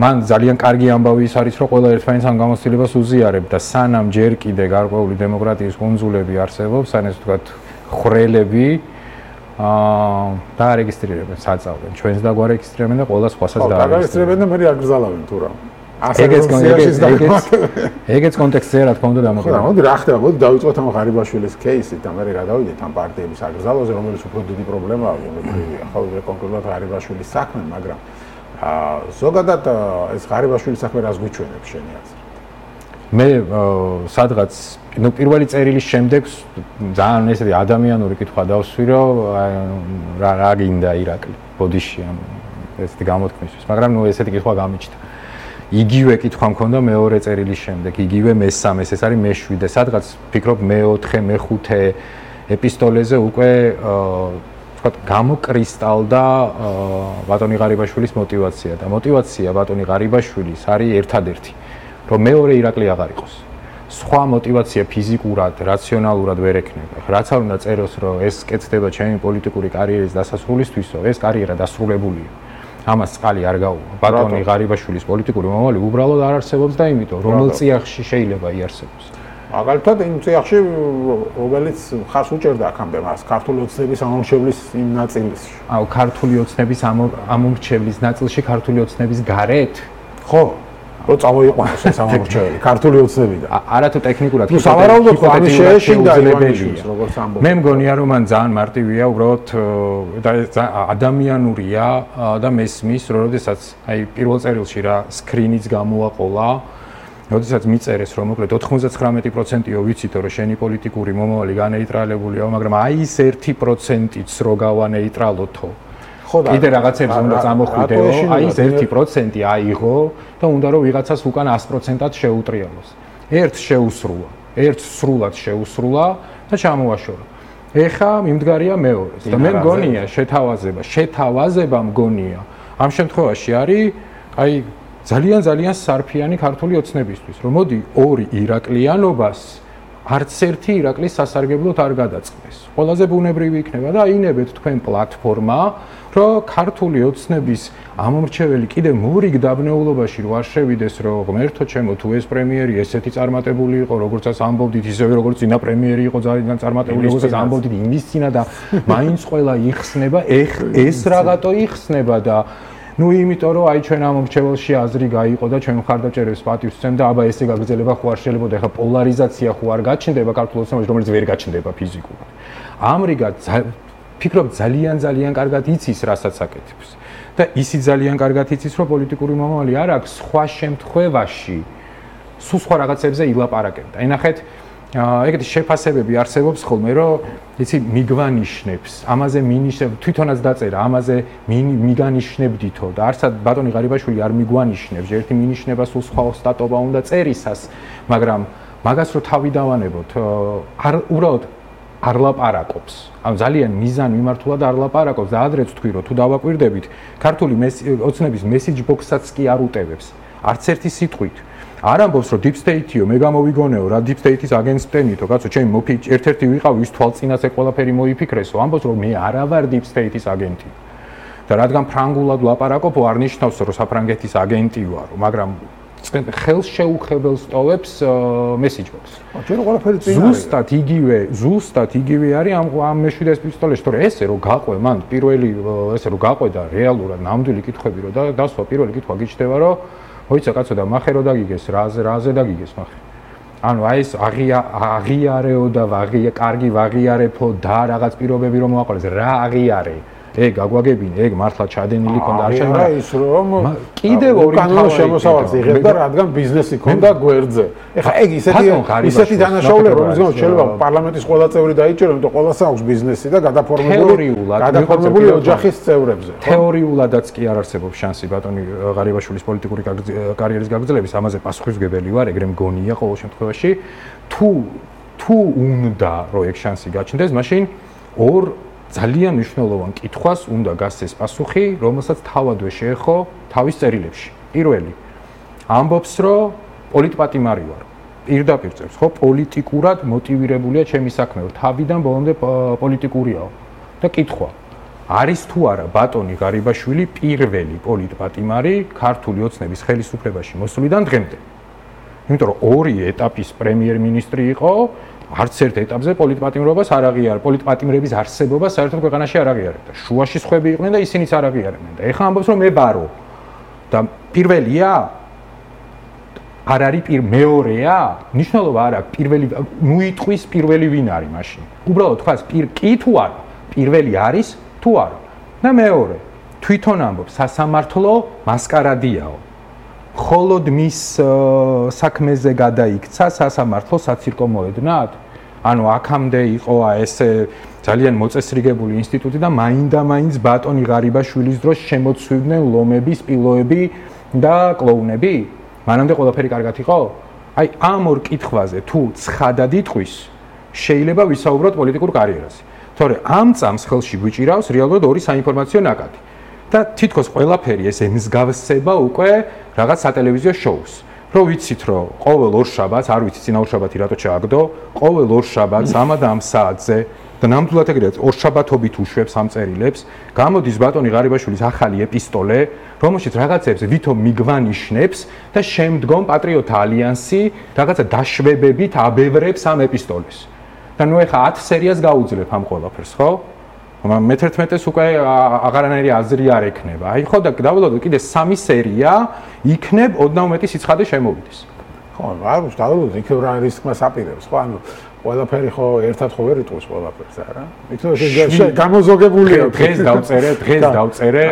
მან ძალიან კარგი ამბავი ის არის, რომ ყველა ერთმანეთს ამ გამოცდილებას უზიარებთ და სანამ ჯერ კიდე გარკვეული დემოკრატიის კუნძულები არსებობს, ან ესე ვთქვათ, ხრელები და რეგისტრირებენ, საწავლენ. ჩვენს და გვარეგისტრირებენ და ყველა სხვასაც დაარეგისტრირებენ და მე აგრძალავენ თუ რა. ეგეც კონტექსტზე რა თქმა უნდა დამოკიდებულია. მოდი რა ხდება, მოდი დავიწყოთ ამ ღარიბაშვილის кейსით და მე გადავიდეთ ამ პარტიების აგრძალვაზე, რომელიც უფრო დიდი პრობლემაა, ახლა კონკრეტულად ღარიბაშვილის საქმე, მაგრამ ზოგადად ეს ღარიბაშვილის საქმე რას გვიჩვენებს შენი აზრით? მე სადღაც პირველი წერილის შემდეგ ძალიან ესეთი ადამიანური კითხვა დავსვი, რომ რა გინდა ირაკლი ბოდიში ამ ესეთი გამოთქმისთვის, მაგრამ ესეთი კითხვა გამიჩნდა. იგივე კითხვა მქონდა მეორე წერილის შემდეგ, იგივე მესამეს, ეს არის მე-7, სადღაც ფიქრობ მე-4, მე-5 ეპისტოლეზე უკვე ვთქვათ გამოკრისტალდა ბატონი ღარიბაშვილის мотиваცია და мотиваცია ბატონი ღარიბაშვილის არის ერთადერთი, რომ მეორე ირაკლი აღარ იყოს. სხვა мотиваცია ფიზიკურად, რაციონალურად ვერ ექნება. რაც არ უნდა წეროს, რომ ეს კეთდება ჩემი პოლიტიკური კარიერის დასასრულისთვისო, ეს კარიერა დასრულებულია. ამას წყალი არ გაუვა. ბატონი ღარიბაშვილის პოლიტიკური მომავალი უბრალოდ არ არსებობს და იმიტომ რომელ წიაღში შეიძლება იარსებოს. მაგალითად იმ წიაღში რომელიც ხას უჭერდა აქამდე მას ქართული ოცნების ამომრჩევლის იმ ნაწილში. ქართული ოცნების ამომრჩევლის ნაწილში ქართული ოცნების გარეთ? ხო. რომ წამოიყვანოს ეს ამომრჩეველი ქართული ოცნებიდან. არათუ ტექნიკურად თუ სავარაუდოდ ამის შეეშინდა ივანიშვილს როგორც ამბობს. მე მგონია რომ მან ძალიან მარტივია, უბრალოდ ადამიანურია და მესმის, რომ როდესაც აი პირველ წერილში რა სკრინიც გამოაყოლა, როდესაც მიწერეს რომ მოკლედ 99%-ო ვიცითო რომ შენი პოლიტიკური მომავალი განეიტრალებულია, მაგრამ აი ეს 1%-იც რო გავანეიტრალოთო. კიდე რაღაცებს უნდა წამოხვიდეო, აი ეს 1% აიღო და უნდა რომ ვიღაცას უკან 100%-ად შეუტრიალოს. ერთს შეუსრულა, ერთს სრულად შეუსრულა და ჩამოაშორა. ეხა მიმდგარია მეორეს და მე მგონია შეთავაზება მგონია. ამ შემთხვევაში არის აი ძალიან სარფიანი ქართული ოცნებისთვის, რომ მოდი ორი ირაკლიანობას არც ერთი ირაკლის სასარგებლოდ არ გადაწყდეს. ყველაზე ბუნებრივი იქნება და აინებეთ თქვენ პლატფორმა, რომ ქართული ოცნების ამომრჩეველი კიდე მორიგ დაბნეულობაში რო არ შევიდეს, რომ ღმერთო ჩემო, თუ ეს პრემიერი ესეთი წარმატებული იყო, როგორცაც ამბობდით, ისევე როგორც წინა პრემიერი იყო ძალიან წარმატებული, როგორცაც ამბობდით იმის წინა და მაინც ყველა იხსნება, ეს რაღაცო იხსნება და ну იმიტომ რომ აი ჩვენ ამომრჩეველში აზრი გაიყო და ჩვენ მხარდაჭერებს პატივს ვცემ და აბა ესე გაგრძელება ხო არ შეიძლება ეხა პოლარიზაცია ხო არ გაჩნდება ქართულ ოცნებაში, რომელიც ვერ გაჩნდება ფიზიკურად. ამრიგად ფიქრობ ძალიან კარგად იცის რასაც აკეთებს და ისი ძალიან კარგად იცის რომ პოლიტიკური მომავალი არ აქვს სხვა შემთხვევაში სულ სხვა რაღაცებზე ილაპარაკებდა. ენახეთ ეგეთი შეფასებები არსებობს ხოლმე რომ იცი მიგვანიშნებს, ამაზე მინიშნებ, თვითონაც დაწერა, ამაზე მიგანიშნებდითო და არცად ბატონი ღარიბაშვილი არ მიგვანიშნებს, ერთი მინიშნება სულ სხვა სტატობა უნდა წერისას, მაგრამ მაგას რო თავი დავანებოთ, არ უბრალოდ არ ლაპარაკობს. ანუ ძალიან მიზან მიმართულად არ ლაპარაკობს და ადრეც თქვი რომ თუ დავაკვირდებით, ქართული ოცნების message box-საც კი არ უტევებს. არც ერთი სიტყვით. არ ამბობს რომ deep state-იო, მე გამოვიგონეო რა deep state-ის აგენტს ვტენითო, კაცო, ჩემი ერთ-ერთი ვიყავი ის თვალწინაზე ყველაფერი მოიფიქრესო, ამბობს რომ მე არა ვარ deep state-ის აგენტი. და რადგან ფრანგულად ლაპარაკობ, არ ნიშნავს რომ საფრანგეთის აგენტი ვარო, მაგრამ ხელს შეუხებელს ტოვებს message box. ჯერ ყველაფერი წინ არის. ზუსტად იგივე არის ამ მეშვიდე პისტოლეში, თორე ესე რომ გაყვე მან პირველი ესე რომ გაყვე და რეალურად ნამდვილი კითხვები რომ დასვა პირველი კითხვა გიჩნდება რომ მოიცა კაცო და მახე რო დაგიგეს რაზე დაგიგეს მახე. ანუ აი ეს აღიარეო და კარგი ვაღიარებო და რაღაც პირობები რომ მოაყოლეს რა აღიარე ეგ გაგვაგებინე ეგ მართლა ჩადენილი ქონდა არ შემარა ის რომ კიდევ ორი კანონო შემოსავალს იღებდა რადგან ბიზნესი ქონდა გვერდზე ეხლა ეგ ისეთი დანაშაულება რომელიც შეიძლება პარლამენტის ყველა წევრი დაიჭირო იმიტომ რომ ყველას აქვს ბიზნესი და გადაფორმებული ოჯახის წევრებზე თეორიულადაც კი არ არსებობს შანსი ბატონი ღარიბაშვილის პოლიტიკური კარიერის გაგრძელების ამაზე პასუხისმგებელი ვარ ეგრე მგონია ყოველ შემთხვევაში თუ უნდა რომ ეგ შანსი გაჩნდეს მაშინ ორ ძალიან მნიშვნელოვან კითხვას უნდა გასცეს პასუხი, რომელსაც თავადვე შეეხო თავის წერილებში. პირველი ამბობს, რომ პოლიტპატიმარი ვარ. პირდაპირ წერს, ხო, პოლიტიკურად მოტივირებულია ჩემი საქმე, თავიდან ბოლომდე პოლიტიკურიაო. და კითხვა, არის თუ არა ბატონი ღარიბაშვილი პირველი პოლიტპატიმარი ქართული ოცნების ხელისუფლებაში მოსვლიდან დღემდე? იმიტომ რომ ორი ეტაპის პრემიერ-მინისტრი იყო არც ერთ ეტაპზე პოლიტპატიმრობას არ აღიარებდა, პოლიტპატიმრების არსებობა საერთოდ ქვეყანაში არ აღიარებდა. შუაში სხვები იყვნენ და ისინიც არ აღიარებდნენ. და ეხლა ამბობს რომ მე ბარო. და პირველია არ არის მეორეა? ნიშნულობა არ აქვს პირველი მოიტყვის პირველი ვინ არის მაშინ. უბრალოდ თქვას კი თუ არა, პირველი არის თუ არა. და მეორე, თვითონ ამბობს სასამართლო მასკარადიაო. холод მის საქმეზე გადაიქცა სასამართლო საცირკო მოედნად? ანუ აქამდე იყო ესე ძალიან მოწესრიგებული ინსტიტუტი და მაინდა-მაინც ბატონი ღარიბაშვილის დროს შემოცვიდნენ ლომები, სპილოები და კლოუნები? მანამდე ყველაფერი კარგად იყო? აი ამ ორ კითხვაზე თუ ცხადად იტყვის, შეიძლება ვისაუბროთ პოლიტიკურ კარიერაზე. თორე ამ წამს ხელში გვიჭირავს რეალურად ორი საინფორმაციო ნაკადი. და თითქოს ყველაფერი ეს ემსგავსება უკვე რაღაც სატელევიზიო შოუს. რო ვიცით რომ ყოველ ორშაბათს, არ ვიცი წინა ორშაბათი რატო ჩააგდო, ყოველ ორშაბათს ამა და ამ საათზე და ნამდვილად ეგრეა ორშაბათობით უშვებს ამ წერილებს, გამოდის ბატონი ღარიბაშვილის ახალი ეპისტოლე, რომელშიც რაღაცებს ვითომ მიგვანიშნებს და შემდგომ პატრიოტთა ალიანსი რაღაცა დაშვებებით აბევრებს ამ ეპისტოლეს. და ნუ ეხა 10 სერიას გაუძლებ ამ ყველაფერს, ხო? მე-11-ს უკვე აღარანაირი აზრი არ ექნება. აი ხო და დავალოდოთ კიდე 3 სერია იქნებ ოდნავ მეტი სიცხადე შემოვიდეს. ხო, არ ვიცი, დავალოდოთ იქნებ რა რისკმას აპირებს, ხო? ანუ ყველაფერი ხო ერთად ხო ვერ იტყვის ყველაფერს, არა? იქნებ გამოზოგებულია. დღეს დავწერე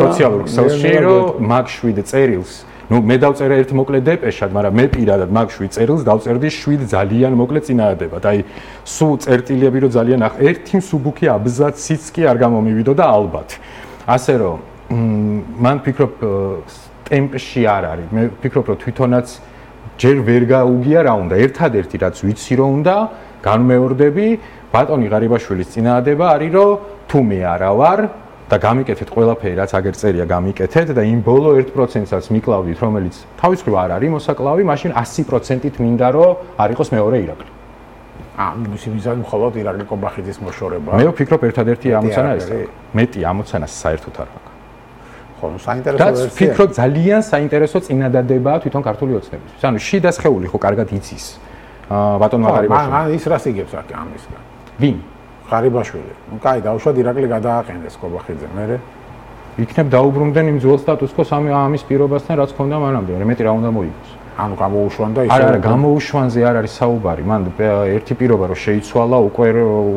სოციალურ ქსელში, რომ მაგ 7 წერილს ნუ მე დავწერე ერთ მოკლე დეპეშად, მაგრამ მე პირადად მაგ 7 წერილს დავწერდი 7 ძალიან მოკლე წინადადებად. აი სულ წერტილები რომ ძალიან ერთი მსუბუქი აბზაციც კი არ გამომივიდო და ალბათ. ასე რომ მან ფიქრობ ტემპში არ არის. მე ფიქრობ რომ თვითონაც ჯერ ვერ გაუგია რა უნდა. ერთადერთი რაც ვიცი რომ უნდა განმეორდები ბატონი ღარიბაშვილის წინადადება არის რომ თუ მე არა ვარ და გამიკეთეთ ყველაფერი რაც აგერ წერია გამიკეთეთ და იმ ბოლო 1%-საც მიკლავდით რომელიც თავის მხრივ არ არის მოსაკლავი, მაშინ 100%-ით მინდა რომ არ იყოს მეორე ირაკლი. მისი მიზანი მხოლოდ ირაკლი კობახიძის მოშორება. მე ვფიქრობ ერთადერთი ამოცანა ეს. მეტი ამოცანა საერთოდ არ აქვს. ხო, საინტერესო ვერსია. და ვფიქრობ ძალიან საინტერესო წინადადებაა თვითონ ქართული ოცნებისთვის. ანუ შიდა სხეული ხო კარგად იცის ბატონმა ღარიბაშვილი. მან ის რას იგებს აქ ამისგან? ვინ? ღარიბაშვილი. ნუ კაი, დაუშვათ ირაკლი გადააყენეს კობახიძე, მერე იქნებ დაუბრუნდნენ იმ ძველ სტატუს-კოს ამის პირობასთან რაც ქონდა მანამდე, მეტი რა უნდა მოიგოს. ანუ გამოუშვან და ისე არა, გამოუშვანზე არ არის საუბარი. მან ერთი პირობა რომ შეიცვალა,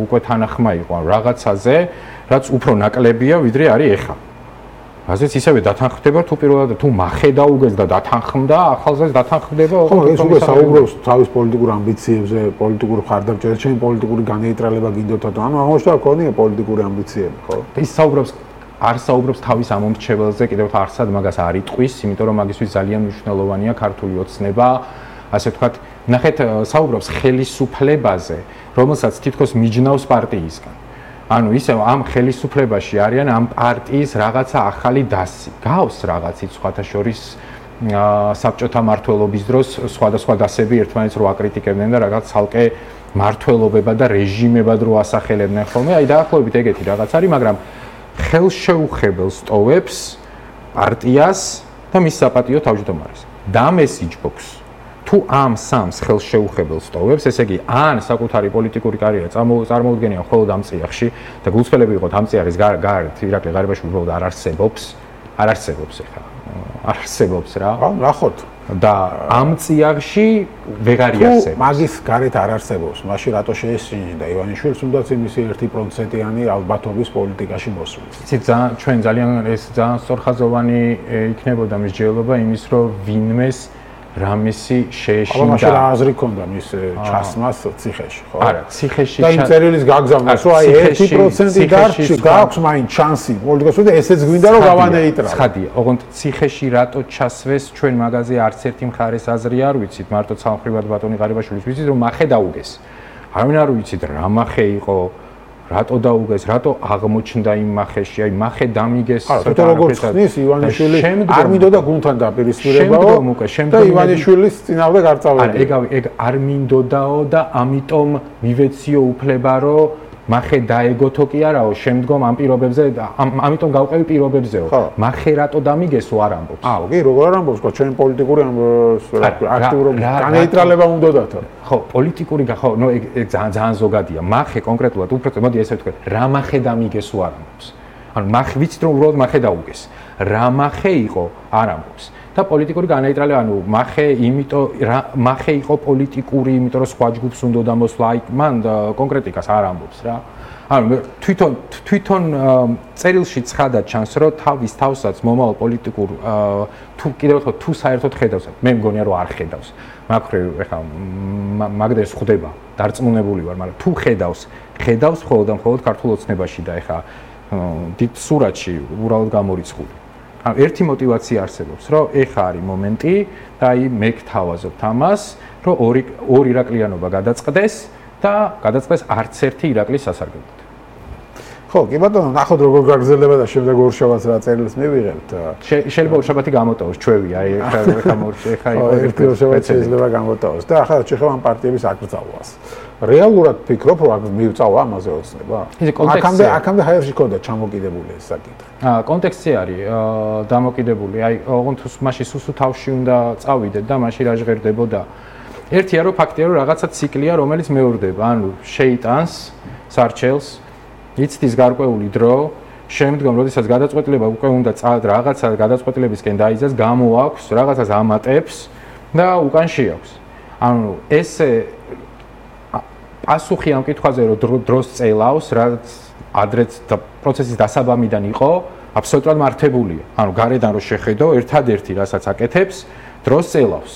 უკვე თანახმა იყო რაღაცაზე, რაც უფრო ნაკლებია, ვიდრე არის ეხა. ასეც ისევე დათანხმდება თუ პირველად თუ მახე დაუგეს და დათანხმდა, ახალზეც დათანხმდება. ხო, ეს უკვე საუბრობს თავის პოლიტიკურ ამბიციებზე, პოლიტიკურ ხარდამჭერზე, ჩემი პოლიტიკური განეიტრალება გინდოთო. ანუ ამოშთა გქონია პოლიტიკური ამბიციები, ხო? ის არ საუბრობს თავის ამომრჩეველზე, კიდევ არცად მაგას არ იტყვის, იმიტომ რომ მაგისთვის ძალიან მნიშვნელოვანია ქართული ოცნება, ასე ვთქვათ, ნახეთ, საუბრობს ხელისუფლებაზე, რომელსაც თითქოს მიჯნავს პარტიისგან. ანუ ისე ამ ხელისუფლებაში არიან ამ პარტიის რაღაცა ახალი დასი. გავს რაღაცით სხვათა შორის საბჭოთა მმართველობის დროს სხვადასხვა დასები ერთმანეთს რო აკრიტიკებდნენ და რაღაც ცალკე მმართველობებად და რეჟიმებად რო ასახელებდნენ ხოლმე. აი დაახლოებით ეგეთი რაღაც არის, მაგრამ ხელშეუხებელს ტოვებს პარტიას და მის საპატიო თავმჯდომარეს. და მესიჯბოქს თუ ამ სამს ხელშეუხებელს ტოვებს, ესე იგი, ან საკუთარი პოლიტიკური კარიერა წარმოუდგენია მხოლოდ ამ წიაღში და გულწრფელები იყოთ ამ წიაღის გარეთ, ირაკლი ღარიბაშვილი უბრალოდ არ არსებობს ეხლა. არ არსებობს რა. ნახოთ. და ამ წიაღში ვეღარ იარსებობს. მაგის გარეთ არ არსებობს. მაშინ რატო შეესწინდა ივანიშვილს თუნდაც იმისი 1%-იანი ალბათობის პოლიტიკაში მოსვლის. იცით, ჩვენ ძალიან სწორხაზოვანი იქნებოდა მსჯელობა იმის, რომ ვინმეს რამისი შეეშინდა. აბა მაშინ რა აზრი ქონდა მის ჩასმას ციხეში, ხო? არა, ციხეში და იმ წერილის გაგზავნას, რომ აი 1% დარჩი, გაქვს მაინც შანსი პოლიტიკაში და ესეც გვინდა რომ გავანეიტრა. ცხადია, ოღონდ ციხეში რატო ჩასვეს ჩვენ მაგაზე არც ერთი მხარეს აზრი არ ვიცით, მარტო სამხრივად ბატონი ღარიბაშვილის ვიცით რომ მახე დაუგეს. არავინ არ ვიცით რა მახე იყო, რატო დაუგეს, რატო აღმოჩნდა იმ მახეში, აი მახე დამიგეს. თვითონ როგორც ხნის ივანიშვილი არ მინდოდა გუნდთან დაპირისპირებაო და ივანიშვილის წინააღმდეგ არ წავედი. ეგ არ მინდოდაო და ამიტომ მივეციო უფლება რომ მახე დაეგოთო კი არაო, შემდგომ ამ პირობებზე, ამიტომ გავყევი პირობებზეო. მახე რატო დამიგესო არ ამბობს. კი, როგორ არ ამბობს, ხო, ჩვენ პოლიტიკური აქტიურობა განეიტრალება უნდათ. ხო, პოლიტიკური ხო, ნუ ეგ ძალიან ზოგადია. მახე კონკრეტულად უფრო მოდი ესე ვთქვათ, რა მახე დამიგესო არ ამბობს. ანუ მახე ვიცით რომ უბრალოდ მახე დაუგეს. რა მახე იყო არ ამბობს. და პოლიტიკური განეიტრალება, ანუ მახე იყო პოლიტიკური, იმიტომ რომ სხვა ჯგუფს უნდა დამოსვლა, აი მან კონკრეტიკას არ ამბობს რა. ანუ თვითონ წერილში ცხადად ჩანს, რომ თავის თავსაც მომავალ პოლიტიკურ თუ კიდევ ვთქვათ, თუ საერთოდ ხედავს, მე მგონია რომ არ ხედავს. მაგხრივ ეხლა მაგდეს ხვდება, დარწმუნებული ვარ, მაგრამ თუ ხედავს მხოლოდ და მხოლოდ ქართულ ოცნებაში და ეხლა დიდ სურათში უბრალოდ გამორიცხული. ერთი мотиваცია არსებობს, რომ ეხა არის მომენტი და აი მე გთავაზობთ ამას, რომ ორი ირაკლიანობა გადაწყდეს და გადაწყდეს არც ერთი ირაკლის სასარგებლოდ. ხო, კი ბატონო, ნახოთ როგორ გაგრძელდება და შემდეგ ორშაბათს რა წერილს მივიღებთ. შეიძლება ორშაბათი გამოტოვოს ჩვევი, აი ეხა მორჩე ეხა ერთი ორშაბათი შეიძლება გამოტოვოს და ახლა შეხება ამ პარტიების აკრძალვას. რეალურად ფიქრობ, რომ მივწავა ამაზე ოცნება? აქამდე ჰაერში ქონდა ჩამოკიდებული ეს საკითხი. კონტექსტი არის დამოკიდებული. აი, ოღონდ მაშინ სუსუ თავში უნდა წავიდეთ და მაშინ რა ჟღერდებოდა. ერთია რომ ფაქტია რომ რაღაცა ციკლია, რომელიც მეორდება, ანუ შეიტანს სარჩელს, იცდის გარკვეული დრო, შემდგომ როდესაც გადაწყვეტილება უკვე უნდა რაღაცა გადაწყვეტილებისკენ დაიძას, გამოაქვს, რაღაცას ამატებს და უკან შეაქვს. ანუ ესე პასუხი ამ კითხვაზე რომ დროს წელავს, რაც ადრეც პროცესის დასაბამიდან იყო, აბსოლუტურად მართებულია. ანუ გარედან რო შეხედო, ერთადერთი რასაც აკეთებს, დროს წელავს.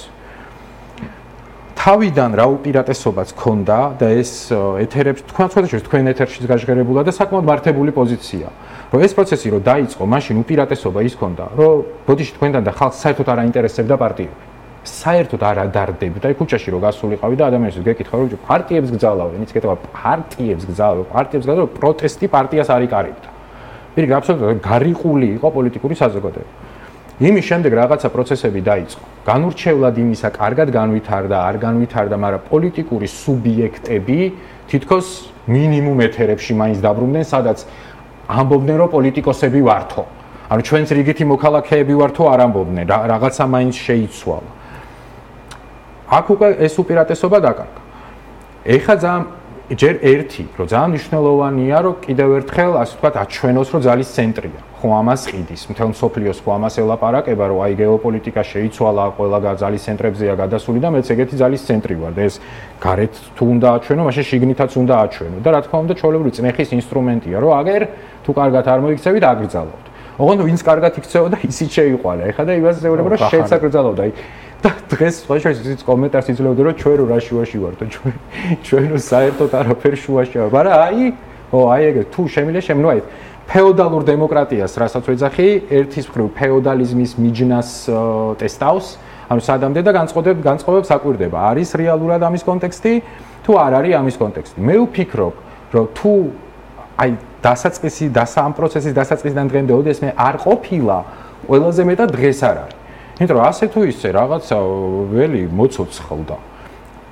თავიდან რა უპირატესობაც ქონდა და ეს ეთერებს თქვენ ეთერშიც გაჟღერებულა და საკმაოდ მართებული პოზიცია. რომ ეს პროცესი რო დაიწყო, მაშინ უპირატესობა ის ქონდა, რომ ბოდიში თქვენთან და ხალხს საერთოდ არ აინტერესებდა პარტიები. საერთოდ არ ადარდებდა, აი ქუჩაში რო გასულიყავი და ადამიანებს გეკითხა რომ პარტიებს გძალავენ, იცი კეთება პარტიებს გძალავენ, პროტესტი პარტიას არ იკარიბდა. პირიქით, აბსოლუტურად გარიყული იყო პოლიტიკური საზოგადოება. იმის შემდეგ რაღაცა პროცესები დაიწყო. განურჩევლად იმისა, კარგად განვითარდა, არ განვითარდა, მაგრამ პოლიტიკური სუბიექტები თითქოს მინიმუმ ეთერებში მაინც დაბრუნდნენ, სადაც ამბობდნენ, რომ პოლიტიკოსები ვართო. ანუ ჩვენც რიგითი მოქალაქეები ვართო არ ამბობდნენ, რაღაცა მაინც შეიცვალა. აქ უკვე ეს უპირატესობა დაკარგა. ეხლა ძალიან ჯერ ერთი, რომ ძალიან მნიშვნელოვანია, რომ კიდევ ერთხელ, ასე ვთქვათ, აჩვენოს, რომ ძალის ცენტრია. ხო ამას ყიდის, მთელ მსოფლიოს ხო ამას ელაპარაკება, რომ აი გეოპოლიტიკა შეიცვალა, ყველა ძალის ცენტრებზეა გადასული და მეც ეგეთი ძალის ცენტრი ვარ და ეს გარეთ თუ უნდა აჩვენო, მაშინ შიგნითაც უნდა აჩვენო და რა თქმა უნდა, ჩვეულებრივი წნეხის ინსტრუმენტია, რომ აგერ თუ კარგად არ მოიქცევით, აგრძალავთ. ოღონდ ვინც კარგად იქცეოდა, ისიც შეიყვანა. ეხლა და იმას ეუბნება, რომ შეცაგრძალავდა. აი და დღეს სხვა შეიძლება კომენტარს იძლეოდა, რომ ჩვენ რა შუაში ვართ და ჩვენ საერთოდ არაფერ შუაში ვართ. მაგრამ აი ეგ თუ შემიძლია შემნო აი ფეოდალურ დემოკრატიას, რასაც ვეძახი, ერთის მხრივ ფეოდალიზმის მიჯნას ტესტავს, ანუ სადამდე და განწყობებს აკვირდება. არის რეალურად ამის კონტექსტი, თუ არ არის ამის კონტექსტი. მე ვფიქრობ, რომ თუ აი ამ პროცესის დასაწყისიდან დღემდე ოდესმე არ ყოფილა, ყველაზე მეტად დღეს არ არის. იმიტომ რომ ასე თუ ისე რაღაცა ველი მოცოცხლდა.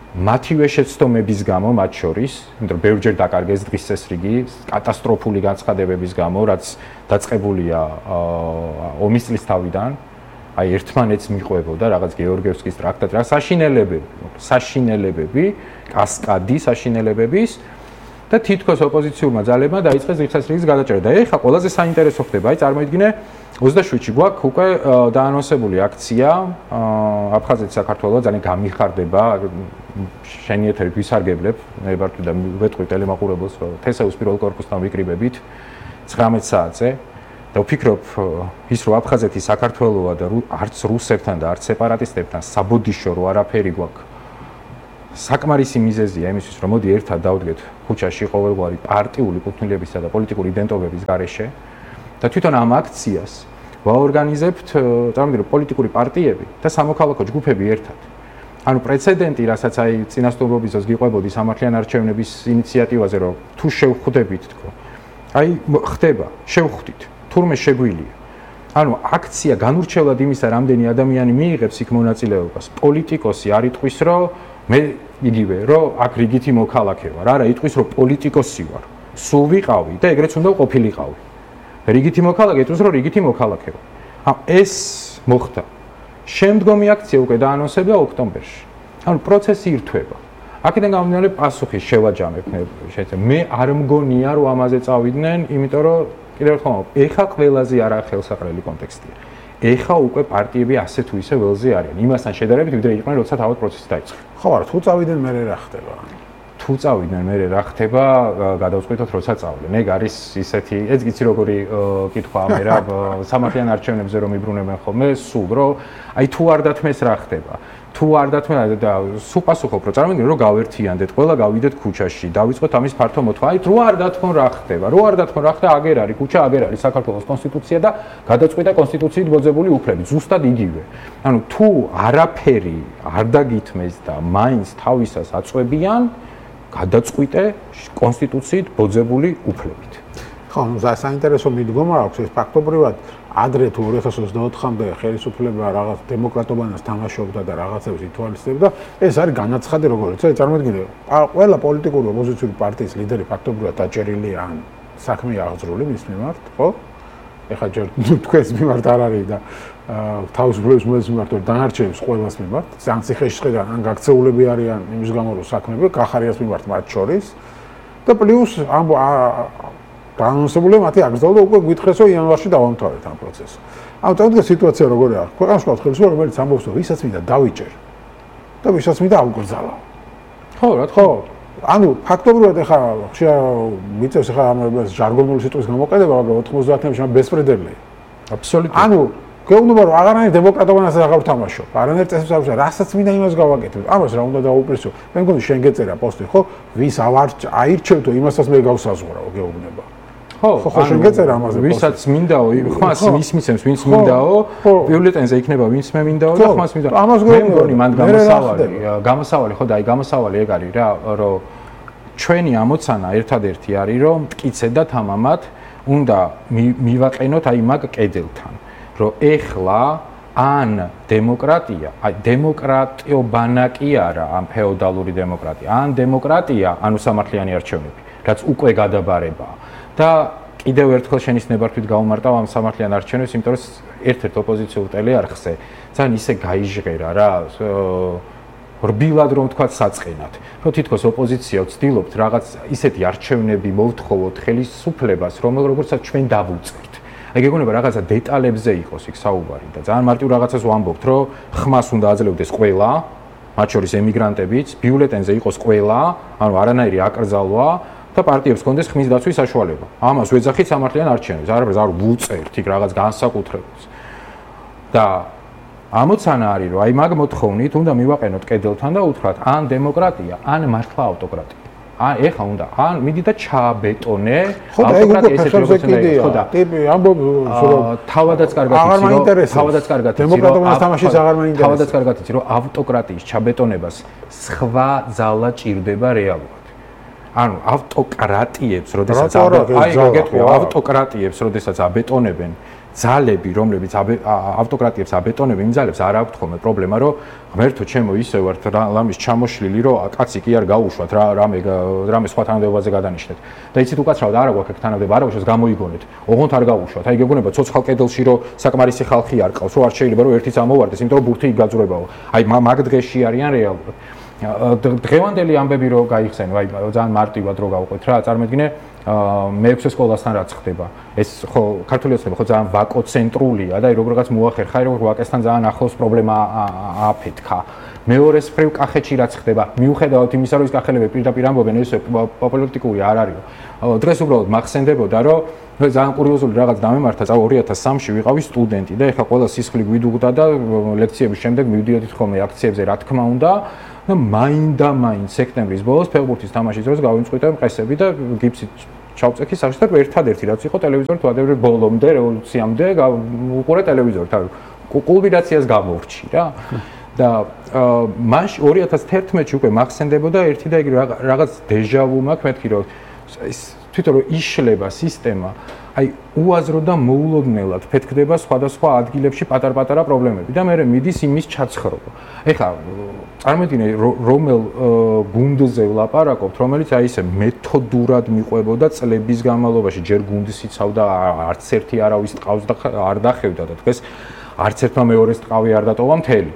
მათივე შეცდომების გამო მათ შორის, იმიტომ რომ ბევრჯერ დაკარგეს დღის წესრიგი, კატასტროფული განცხადებების გამო, რაც დაწყებულია ომის წლის თავიდან, აი ერთმანეთს მიყვებოდა რაღაც გეორგიევსკის ტრაქტატი, რა საშინელებები, კასკადი საშინელებების და თითქოს ოპოზიციურმა ძალებმა დაიწყეს დღის წესრიგის გადაჭერა. და ეხლა ყველაზე საინტერესო ხდება, აი წარმოიდგინე 27-ში გვაქვს უკვე დაანონსებული აქცია აფხაზეთი საქართველოს ძალიან გამიხარდება შენი ეთერი ვისარგებლებ ნებართვი და ვეთყვი ტელემაყურებელს რომ თესეუს პირველ კორპუსთან ვიკრიბებით 19 საათზე და ვფიქრობ ის რომ აფხაზეთი საქართველოა და არც რუსებთან და არც სეპარატისტებთან საბოდიშო რო არაფერი გვაქვს საკმარისი მიზეზია იმისთვის რომ მოდი ერთად დავდგეთ ქუჩაში ყოველგვარი პარტიული კუთვნილებისა და პოლიტიკური იდენტობების გარეშე და თვითონ ამ აქციას ვაორგანიზებთ წარმოგიდგენთ პოლიტიკური პარტიები და სამოქალაქო ჯგუფები ერთად. ანუ პრეცედენტი, რასაც აი წინასწორობის დროს გიყვებოდი სამართლიან არჩევნების ინიციატივაზე, რომ თუ შევხვდებით თქო. აი ხდება, შევხვდით, თურმე შეგვილია. ანუ აქცია განურჩევლად იმისა, რამდენი ადამიანი მიიღებს იქ მონაწილეობას. პოლიტიკოსი არ იტყვის, რომ მე იგივე, რომ აქ რიგითი მოქალაქე ვარ. არა, იტყვის, რომ პოლიტიკოსი ვარ. სულ ვიყავი და ეგრეც უნდა ყოფილიყავი. რიგითი მოქალაქე იტყვის, რომ რიგითი მოქალაქე ვარ. ეს მოხდა. შემდგომი აქცია უკვე დაანონსებდა ოქტომბერში. ანუ პროცესი ირთვება. აქედან გამომდინარე პასუხი შევაჯამებ შეიძლება. მე არ მგონია რომ ამაზე წავიდნენ, იმიტომ რომ კიდევ ერთხელ ეხა ყველაზე არახელსაყრელი კონტექსტია. ეხა უკვე პარტიები ასე თუ ისე ველზე არიან. იმასთან შედარებით, ვიდრე იყვნენ, როცა თავად პროცესი დაიწყო. ხო, არა, თუ წავიდნენ მე რა ხდება? თუ წავიდნენ მე რა ხდება, გადავწყვიტოთ როცა წავლენ. ეგ არის ისეთი, ეს გიცი როგორი კითხვა მე რა სამართლიან არჩევნებზე რომ იბრუნებენ ხოლმე, სულ რომ აი თუ არ დათმეს რა ხდება. თუ არ დათმეს და სულ პასუხობ რომ წარმოგიდგენთ რომ გავერთიანდეთ, ყველა გავიდეთ ქუჩაში, დავიწყოთ ამის ფართო მოთხოვნა. აი რო არ დათმონ რა ხდება, რო არ დათმონ რა ხდება, აგერ არის ქუჩა, აგერ არის საქართველოს კონსტიტუცია და გადაწყვიტა კონსტიტუციით მოძებული უფლები, ზუსტად იგივე. ანუ თუ არაფერი არ დაგითმეს და მაინც თავისას აწვევიან გადაწყვიტე კონსტიტუციით ბოძებული უფლებით. ხო, ნუ საინტერესო მიდგომა აქვს ეს ფაქტობრივად ადრე თუ 2024-მდე ხელისუფლება რაღაც დემოკრატობანას თამაშობდა და რაღაცებს ითვალისწინებდა, ეს არის განაცხადი როგორც ეს წარმოიდგინე, ყველა პოლიტიკური ოპოზიციური პარტიის ლიდერი ფაქტობრივად დაჭერილია ან საქმე აღძრული მის მიმართ, ხო? ეხლა ჯერ თქვენს მიმართ არ არის და თავისუფლების მოძების მიმართ დანარჩენებს ყველას მიმართ, სანქციებიდან ან გაქცეულები არიან იმის გამო რომ საქმეები კახარიას მიმართ მათ შორის და პლუს ამ დაანონსებული მათი აკრძალვა და უკვე გითხეს რომ იანვარში დავამთავრეთ ამ პროცესს. ანუ თავდაპირველად სიტუაცია როგორი არის? ქვეყანაში ყავს ხელისუფლება რომელიც ამბობს რომ ვისაც მინდა დავიჭერ და ვისაც მინდა ავგრძალა. ხო, რა თქმა უნდა. ანუ ფაქტობრივად ეხლა მიწევს ეხლა ამ ჟარგონული სიტყვის გამოყენება, მაგრამ 90-იანებში ბესპრედელია. აბსოლუტურად. ანუ გეუბნება რომ აღარანაირ დემოკრატობანას აღარ ვთამაშობ. არანაირ წესებს არ ვშა, რასაც მინდა იმას გავაკეთებ. ამას რა უნდა დაუპირისო. მე მგონი შენ გეწერა პოსტი, ხო? ვის აირჩევთო, იმასაც მე გავსაზღვრავ, გეუბნება. ხო, შენ გეწერა ამაზე. ვისაც მინდაო, ხმას ვის მისცემს, ვინც მინდაო, ბიულეტენზე იქნება ვინც მე მინდაო და ხმას მინდაო. მე მგონი მან გამოსავალი, ხო და აი გამოსავალი ეგ არის რა, რომ ჩვენი ამოცანა ერთადერთი არის, რომ მტკიცე და თამამად უნდა მივაყენოთ აი მაგ კედელთან. რომ ეხლა ან დემოკრატია, აი დემოკრატიობანა კი არა, ამ ფეოდალური დემოკრატია, ან დემოკრატია, ანუ სამართლიანი არჩევნები, რაც უკვე გადაბარებაა. და კიდევ ერთხელ შენის ნებართვით გავუმარტავ ამ სამართლიან არჩევნებს, იმიტომ რომ ერთ-ერთ ოპოზიციურ ტელეარხზე ძალიან ისე გაიჟღერა რა, რბილად რომ თქვა საწყენად, რომ თითქოს ოპოზიცია ვცდილობთ რაღაც ისეთი არჩევნები მოვთხოვოთ ხელისუფლებას, რომელსაც ჩვენ დავუწყებთ. აი გეგონება რაღაცა დეტალებზე იყოს იქ საუბარი და ძალიან მარტივ რაღაცას ვამბობთ, რომ ხმას უნდა აძლევდეს ყველა, მათ შორის ემიგრანტებიც, ბიულეტენზე იყოს ყველა, ანუ არანაირი აკრძალვა და პარტიებს კონდეს ხმის დაცვის საშუალება. ამას ვეძახით სამართლიან არჩევნებს, არ ვუწერთ იქ რაღაც განსაკუთრებულს. და ამოცანა არის, რომ აი მაგ მოთხოვნით უნდა მივაყენოთ კედელთან და უთხრათ, ან დემოკრატია, ან მართლა ავტოკრატია. ეხა უნდა ან მიდი და ჩააბეტონე ხო და ეგ უკვე ფეხებზე კიდია ტიპი ამბობს რომ თავადაც კარგად დემოკრატიული თამაშიც აღარ მაინტერესებს თავადაც კარგად იცი რომ ავტოკრატიის ჩაბეტონებას სხვა ძალა ჭირდება რეალურად ანუ ავტოკრატიებს როდესაც ავტოკრატიებს როდესაც აბეტონებენ ძალები რომლებიც ავტოკრატიებს აბეტონებენ იმ ძალებს არ აქვს ხოლმე პრობლემა რომ ღმერთო ჩემო ისე ვართ რამის ჩამოშლილი რომ კაცი კი არ გაუშვათ რამე სხვა თანამდებობაზე გადანიშნეთ და იცით უკაცრავად არა გვაქვს ეგ თანამდებობა არა გვაქვს გამოიგონეთ ოღონდ არ გაუშვათ აი გეგონება ცოცხალ კედელში რომ საკმარისი ხალხი არ ყავს რომ არ შეიძლება რომ ერთიც ამოვარდეს იმიტომ რომ ბურთი იგაძვრებაო აი მაგ დღეში არიან რეალურად დღევანდელი ამბები რო გაიხსენე აი ძალიან მარტივად რო გავყვეთ რა წარმოიდგინე მე-6 სკოლასთან რაც ხდება ეს ხო ქართული ოცნება ხო ძალიან ვაკოცენტრულია და აი როგორღაც მოახერხა აი როგორ ვაკესთან ძალიან ახლოს პრობლემა აფეთქა მეორეს მხრივ კახეთში რაც ხდება მიუხედავად იმისა რომ ის კახელები პირდაპირ ამბობენ ეს პოლიტიკური არ არისო დღეს უბრალოდ მახსენდებოდა რომ ძალიან კურიოზული რაღაც დამემართა 2003-ში ვიყავი სტუდენტი და ეხლა ყველა სისხლი გვიდუღდა და ლექციების შემდეგ მივდიოდით ხოლმე აქციებზე რა თქმა უნდა და მაინდა-მაინც სექტემბრის ბოლოს ფეხბურთის თამაშის დროს გავიმწყვიტე მყესები და გიფსი ჩავწექი სახში და ერთადერთი რაც იყო ტელევიზორი თვადები ბოლომდე რევოლუციამდე უყურე ტელევიზორს თავი კულმინაციას გამოვრჩი რა და მაშ 2011-ში უკვე მახსენდებოდა ერთი და იგივე რაღაც დეჟავუ მაქვს მეთქი რომ ის თვითონ რომ იშლება სისტემა აი უაზრო და მოულოდნელად ფეთქდება სხვადასხვა ადგილებში პატარ-პატარა პრობლემები და მე მიდის იმის ჩაცხრობა. ეხლა წარმოიდგინე რომელ გუნდზე ვლაპარაკობთ, რომელიც აი ესე მეთოდურად მიყვებოდა წლების განმავლობაში, ჯერ გუნდს იცავდა, არც ერთი არავის ტყავს და არ დახევდა და დღეს არც ერთმა მეორეს ტყავი არ დატოვა მთელი.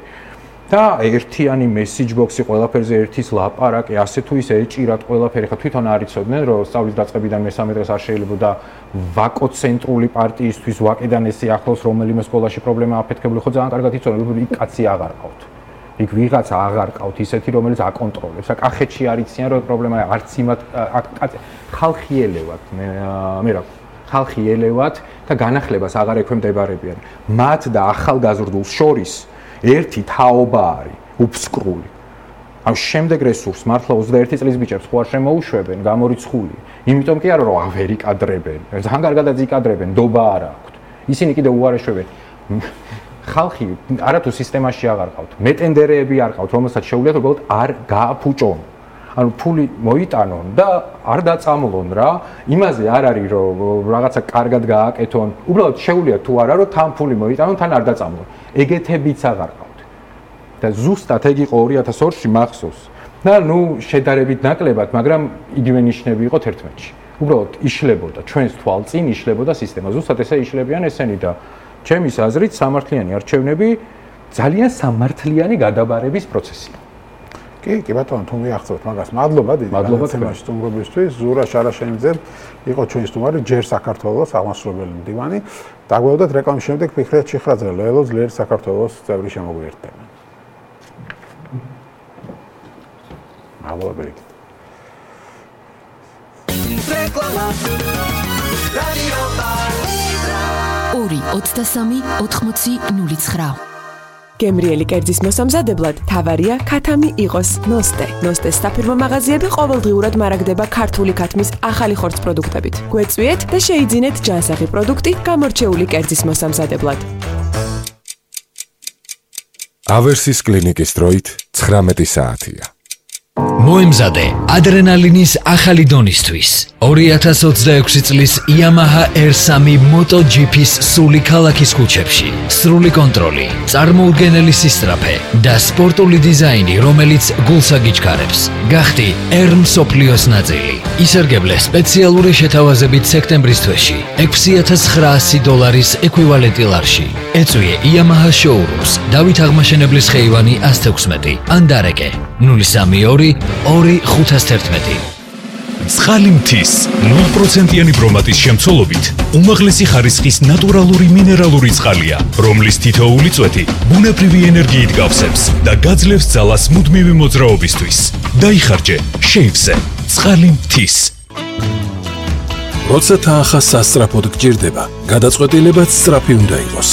და ერთიანი მესიჯ ბოქსი ყველაფერზე ერთის ლაპარაკი ასე თუ ისე ეჭირათ ყველაფერი ხა თვითონ არ იცოდნენ რომ სწავლის დაწყებიდან მესამე დღეს არ შეიძლებოდა ვაკოცენტრული პარტიისთვის ვაკედან ესე ახლოს რომელიმე სკოლაში პრობლემა აფეთქებული ხო ძალიან კარგად იცოდნენ რომ იქ კაცი აღარ ყავთ იქ ვიღაცა აღარ ყავთ ისეთი რომელიც აკონტროლებს და კახეთში არ იციან რომ პრობლემა არც იმათ ხალხი ელევათ მე რა ხალხი ელევათ და განახლებას აღარ ექვემდებარებიან მათ და ახალგაზრდულს შორის ერთი თაობა არის უფსკრული. ამ შემდეგ რესურს მართლა 21 წლის ბიჭებს ხო არ შემოუშვებენ გამორიცხული. იმიტომ კი არა რომ ვერ იკადრებენ. ძალიან კარგადაც იკადრებენ, დობა არ აქვთ. ისინი კიდე უარეშვებენ. ხალხი არათუ სისტემაში აღარ ყავთ. მეტენდერეები არ ყავთ, რომელსაც შეუძლიათ უბრალოდ არ გააფუჭონ. ანუ ფული მოიტანონ და არ დაწამლონ რა. იმაზე არ არის რომ რაღაცა კარგად გააკეთონ. უბრალოდ შეუძლიათ თუ არა რომ თან ფული მოიტანონ, თან არ დაწამლონ. ეგეთებიც აღარ ყავთ. და ზუსტად ეგ იყო 2002-ში მახსოვს. და ნუ შედარებით ნაკლებად, მაგრამ იგივე ნიშნები იყო 11-ში. უბრალოდ იშლებოდა ჩვენს თვალწინ იშლებოდა სისტემა. ზუსტად ესე იშლებიან ესენი და ჩემის აზრით სამართლიანი არჩევნები ძალიან სამართლიანი გადაბარების პროცესია. კი ბატონო, თუ მიახსოვთ მაგას, მადლობა დიდი განაცემაში სტუმრობისთვის. ზურა შარაშენიძე იყო ჩვენი სტუმარი, ჯერ საქართველოს აღმასრულებელი მდივანი. დაგვეოდათ რეკლამის შემდეგ ფიქრეთ ჩიხრაძე, ლელო ძლიერ საქართველოს წევრი შემოგვიერთდება. მადლობა ბერიკ. რეკლამა რადიო პალიტრა 2-23-80-09 გემრიელი კერძის მოსამზადებლად თავარია ქათამი იყოს ნოსტე. ნოსტეს საფირმო მაღაზიები ყოველდღიურად მარაგდება ქართული ქათმის ახალი ხორცს პროდუქტებით. გვეწვიეთ და შეიძინეთ ჯანსაღი პროდუქტი გამორჩეული კერძის მოსამზადებლად. ავერსის კლინიკის დროით 19 საათია. მოემზადე ადრენალინის ახალი დონისთვის 2026 წლის Yamaha R3 MotoGP-ს სული ქალაქის ქუჩებში. სრული კონტროლი, წარმოუდგენელი სისწრაფე და სპორტული დიზაინი, რომელიც გულს აგიჩქარებს. გახდი R მსოფლიოს ნაწილი. ისარგებლე სპეციალური შეთავაზებით სექტემბრის თვეში $6,900 ეკვივალენტი ლარში. ეწვიე Yamaha showrooms დავით აღმაშენებლის ხეივანი 116 ან დარეკე 032-2511. ცხალი მთის 0%-იანი ბრომატის შემცველობით უმაღლესი ხარისხის ნატურალური მინერალური წყალია, რომლის თითოეული წვეთი ბუნებრივი ენერგიით გავსებს და გაძლევს ძალას მუდმივი მოძრაობისთვის. დაიხარჯე შეივსე ცხალი მთის. როცა თანხა სასწრაფოდ გჭირდება, გადაწყვეტილებაც სწრაფი უნდა იყოს.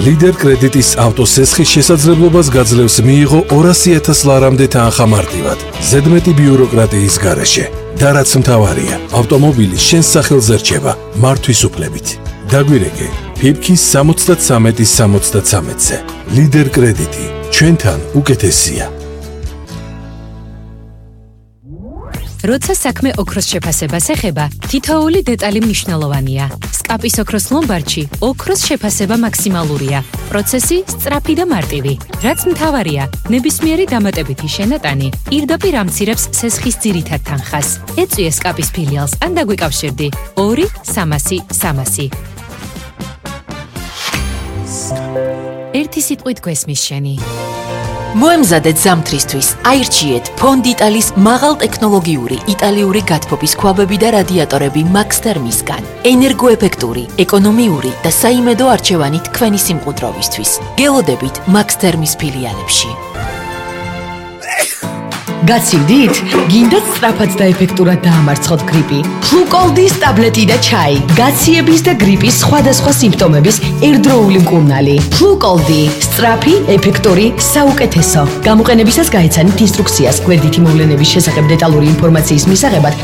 ლიდერ კრედიტის ავტოსესხის შესაძლებლობას გაძლევს მიიღო 200,000 ლარამდე თანხა მარტივად, ზედმეტი ბიუროკრატიის გარეშე. და რაც მთავარია, ავტომობილი შენს სახელზე რჩება მართვის უფლებით. დაგვირეკე, ფირქის 73-ზე. ლიდერ კრედიტი, ჩვენთან უკეთესია. როცა საქმე ოქროს შეფასებას ეხება, თითოეული დეტალი მნიშვნელოვანია. სკაპის ოქროს ლომბარდში ოქროს შეფასება მაქსიმალურია. პროცესი სწრაფი და მარტივი. რაც მთავარია, ნებისმიერი დამატებითი შენატანი პირდაპირ ამცირებს სესხის ძირითად თანხას. ეწვიე სკაპის ფილიალს ან დაგვიკავშირდი 2-300-300. ერთი სიტყვით გვესმის შენი. მოემზადეთ ზამთრისთვის, აირჩიეთ ფონდიტალის მაღალტექნოლოგიური იტალიური გათბობის ქვაბები და რადიატორები Max Thermis-გან. ენერგოეფექტური, ეკონომიური და საიმედო არჩევანი თქვენი სიმყუდროვისთვის. გელოდებით Max Thermis ფილიალებში. გაცივდით? გინდათ სწრაფად და ეფექტურად დაამარცხოთ გრიპი? ფლუკოლდის ტაბლეტი და ჩაი. გაციების და გრიპის სხვადასხვა სიმპტომების ერთდროული მკურნალი. ფლუკოლდი. სწრაფი, ეფექტური, საუკეთესო. გამოყენებისას გაეცანით ინსტრუქციას. გვერდითი მოვლენების შესახებ დეტალური ინფორმაციის მისაღებად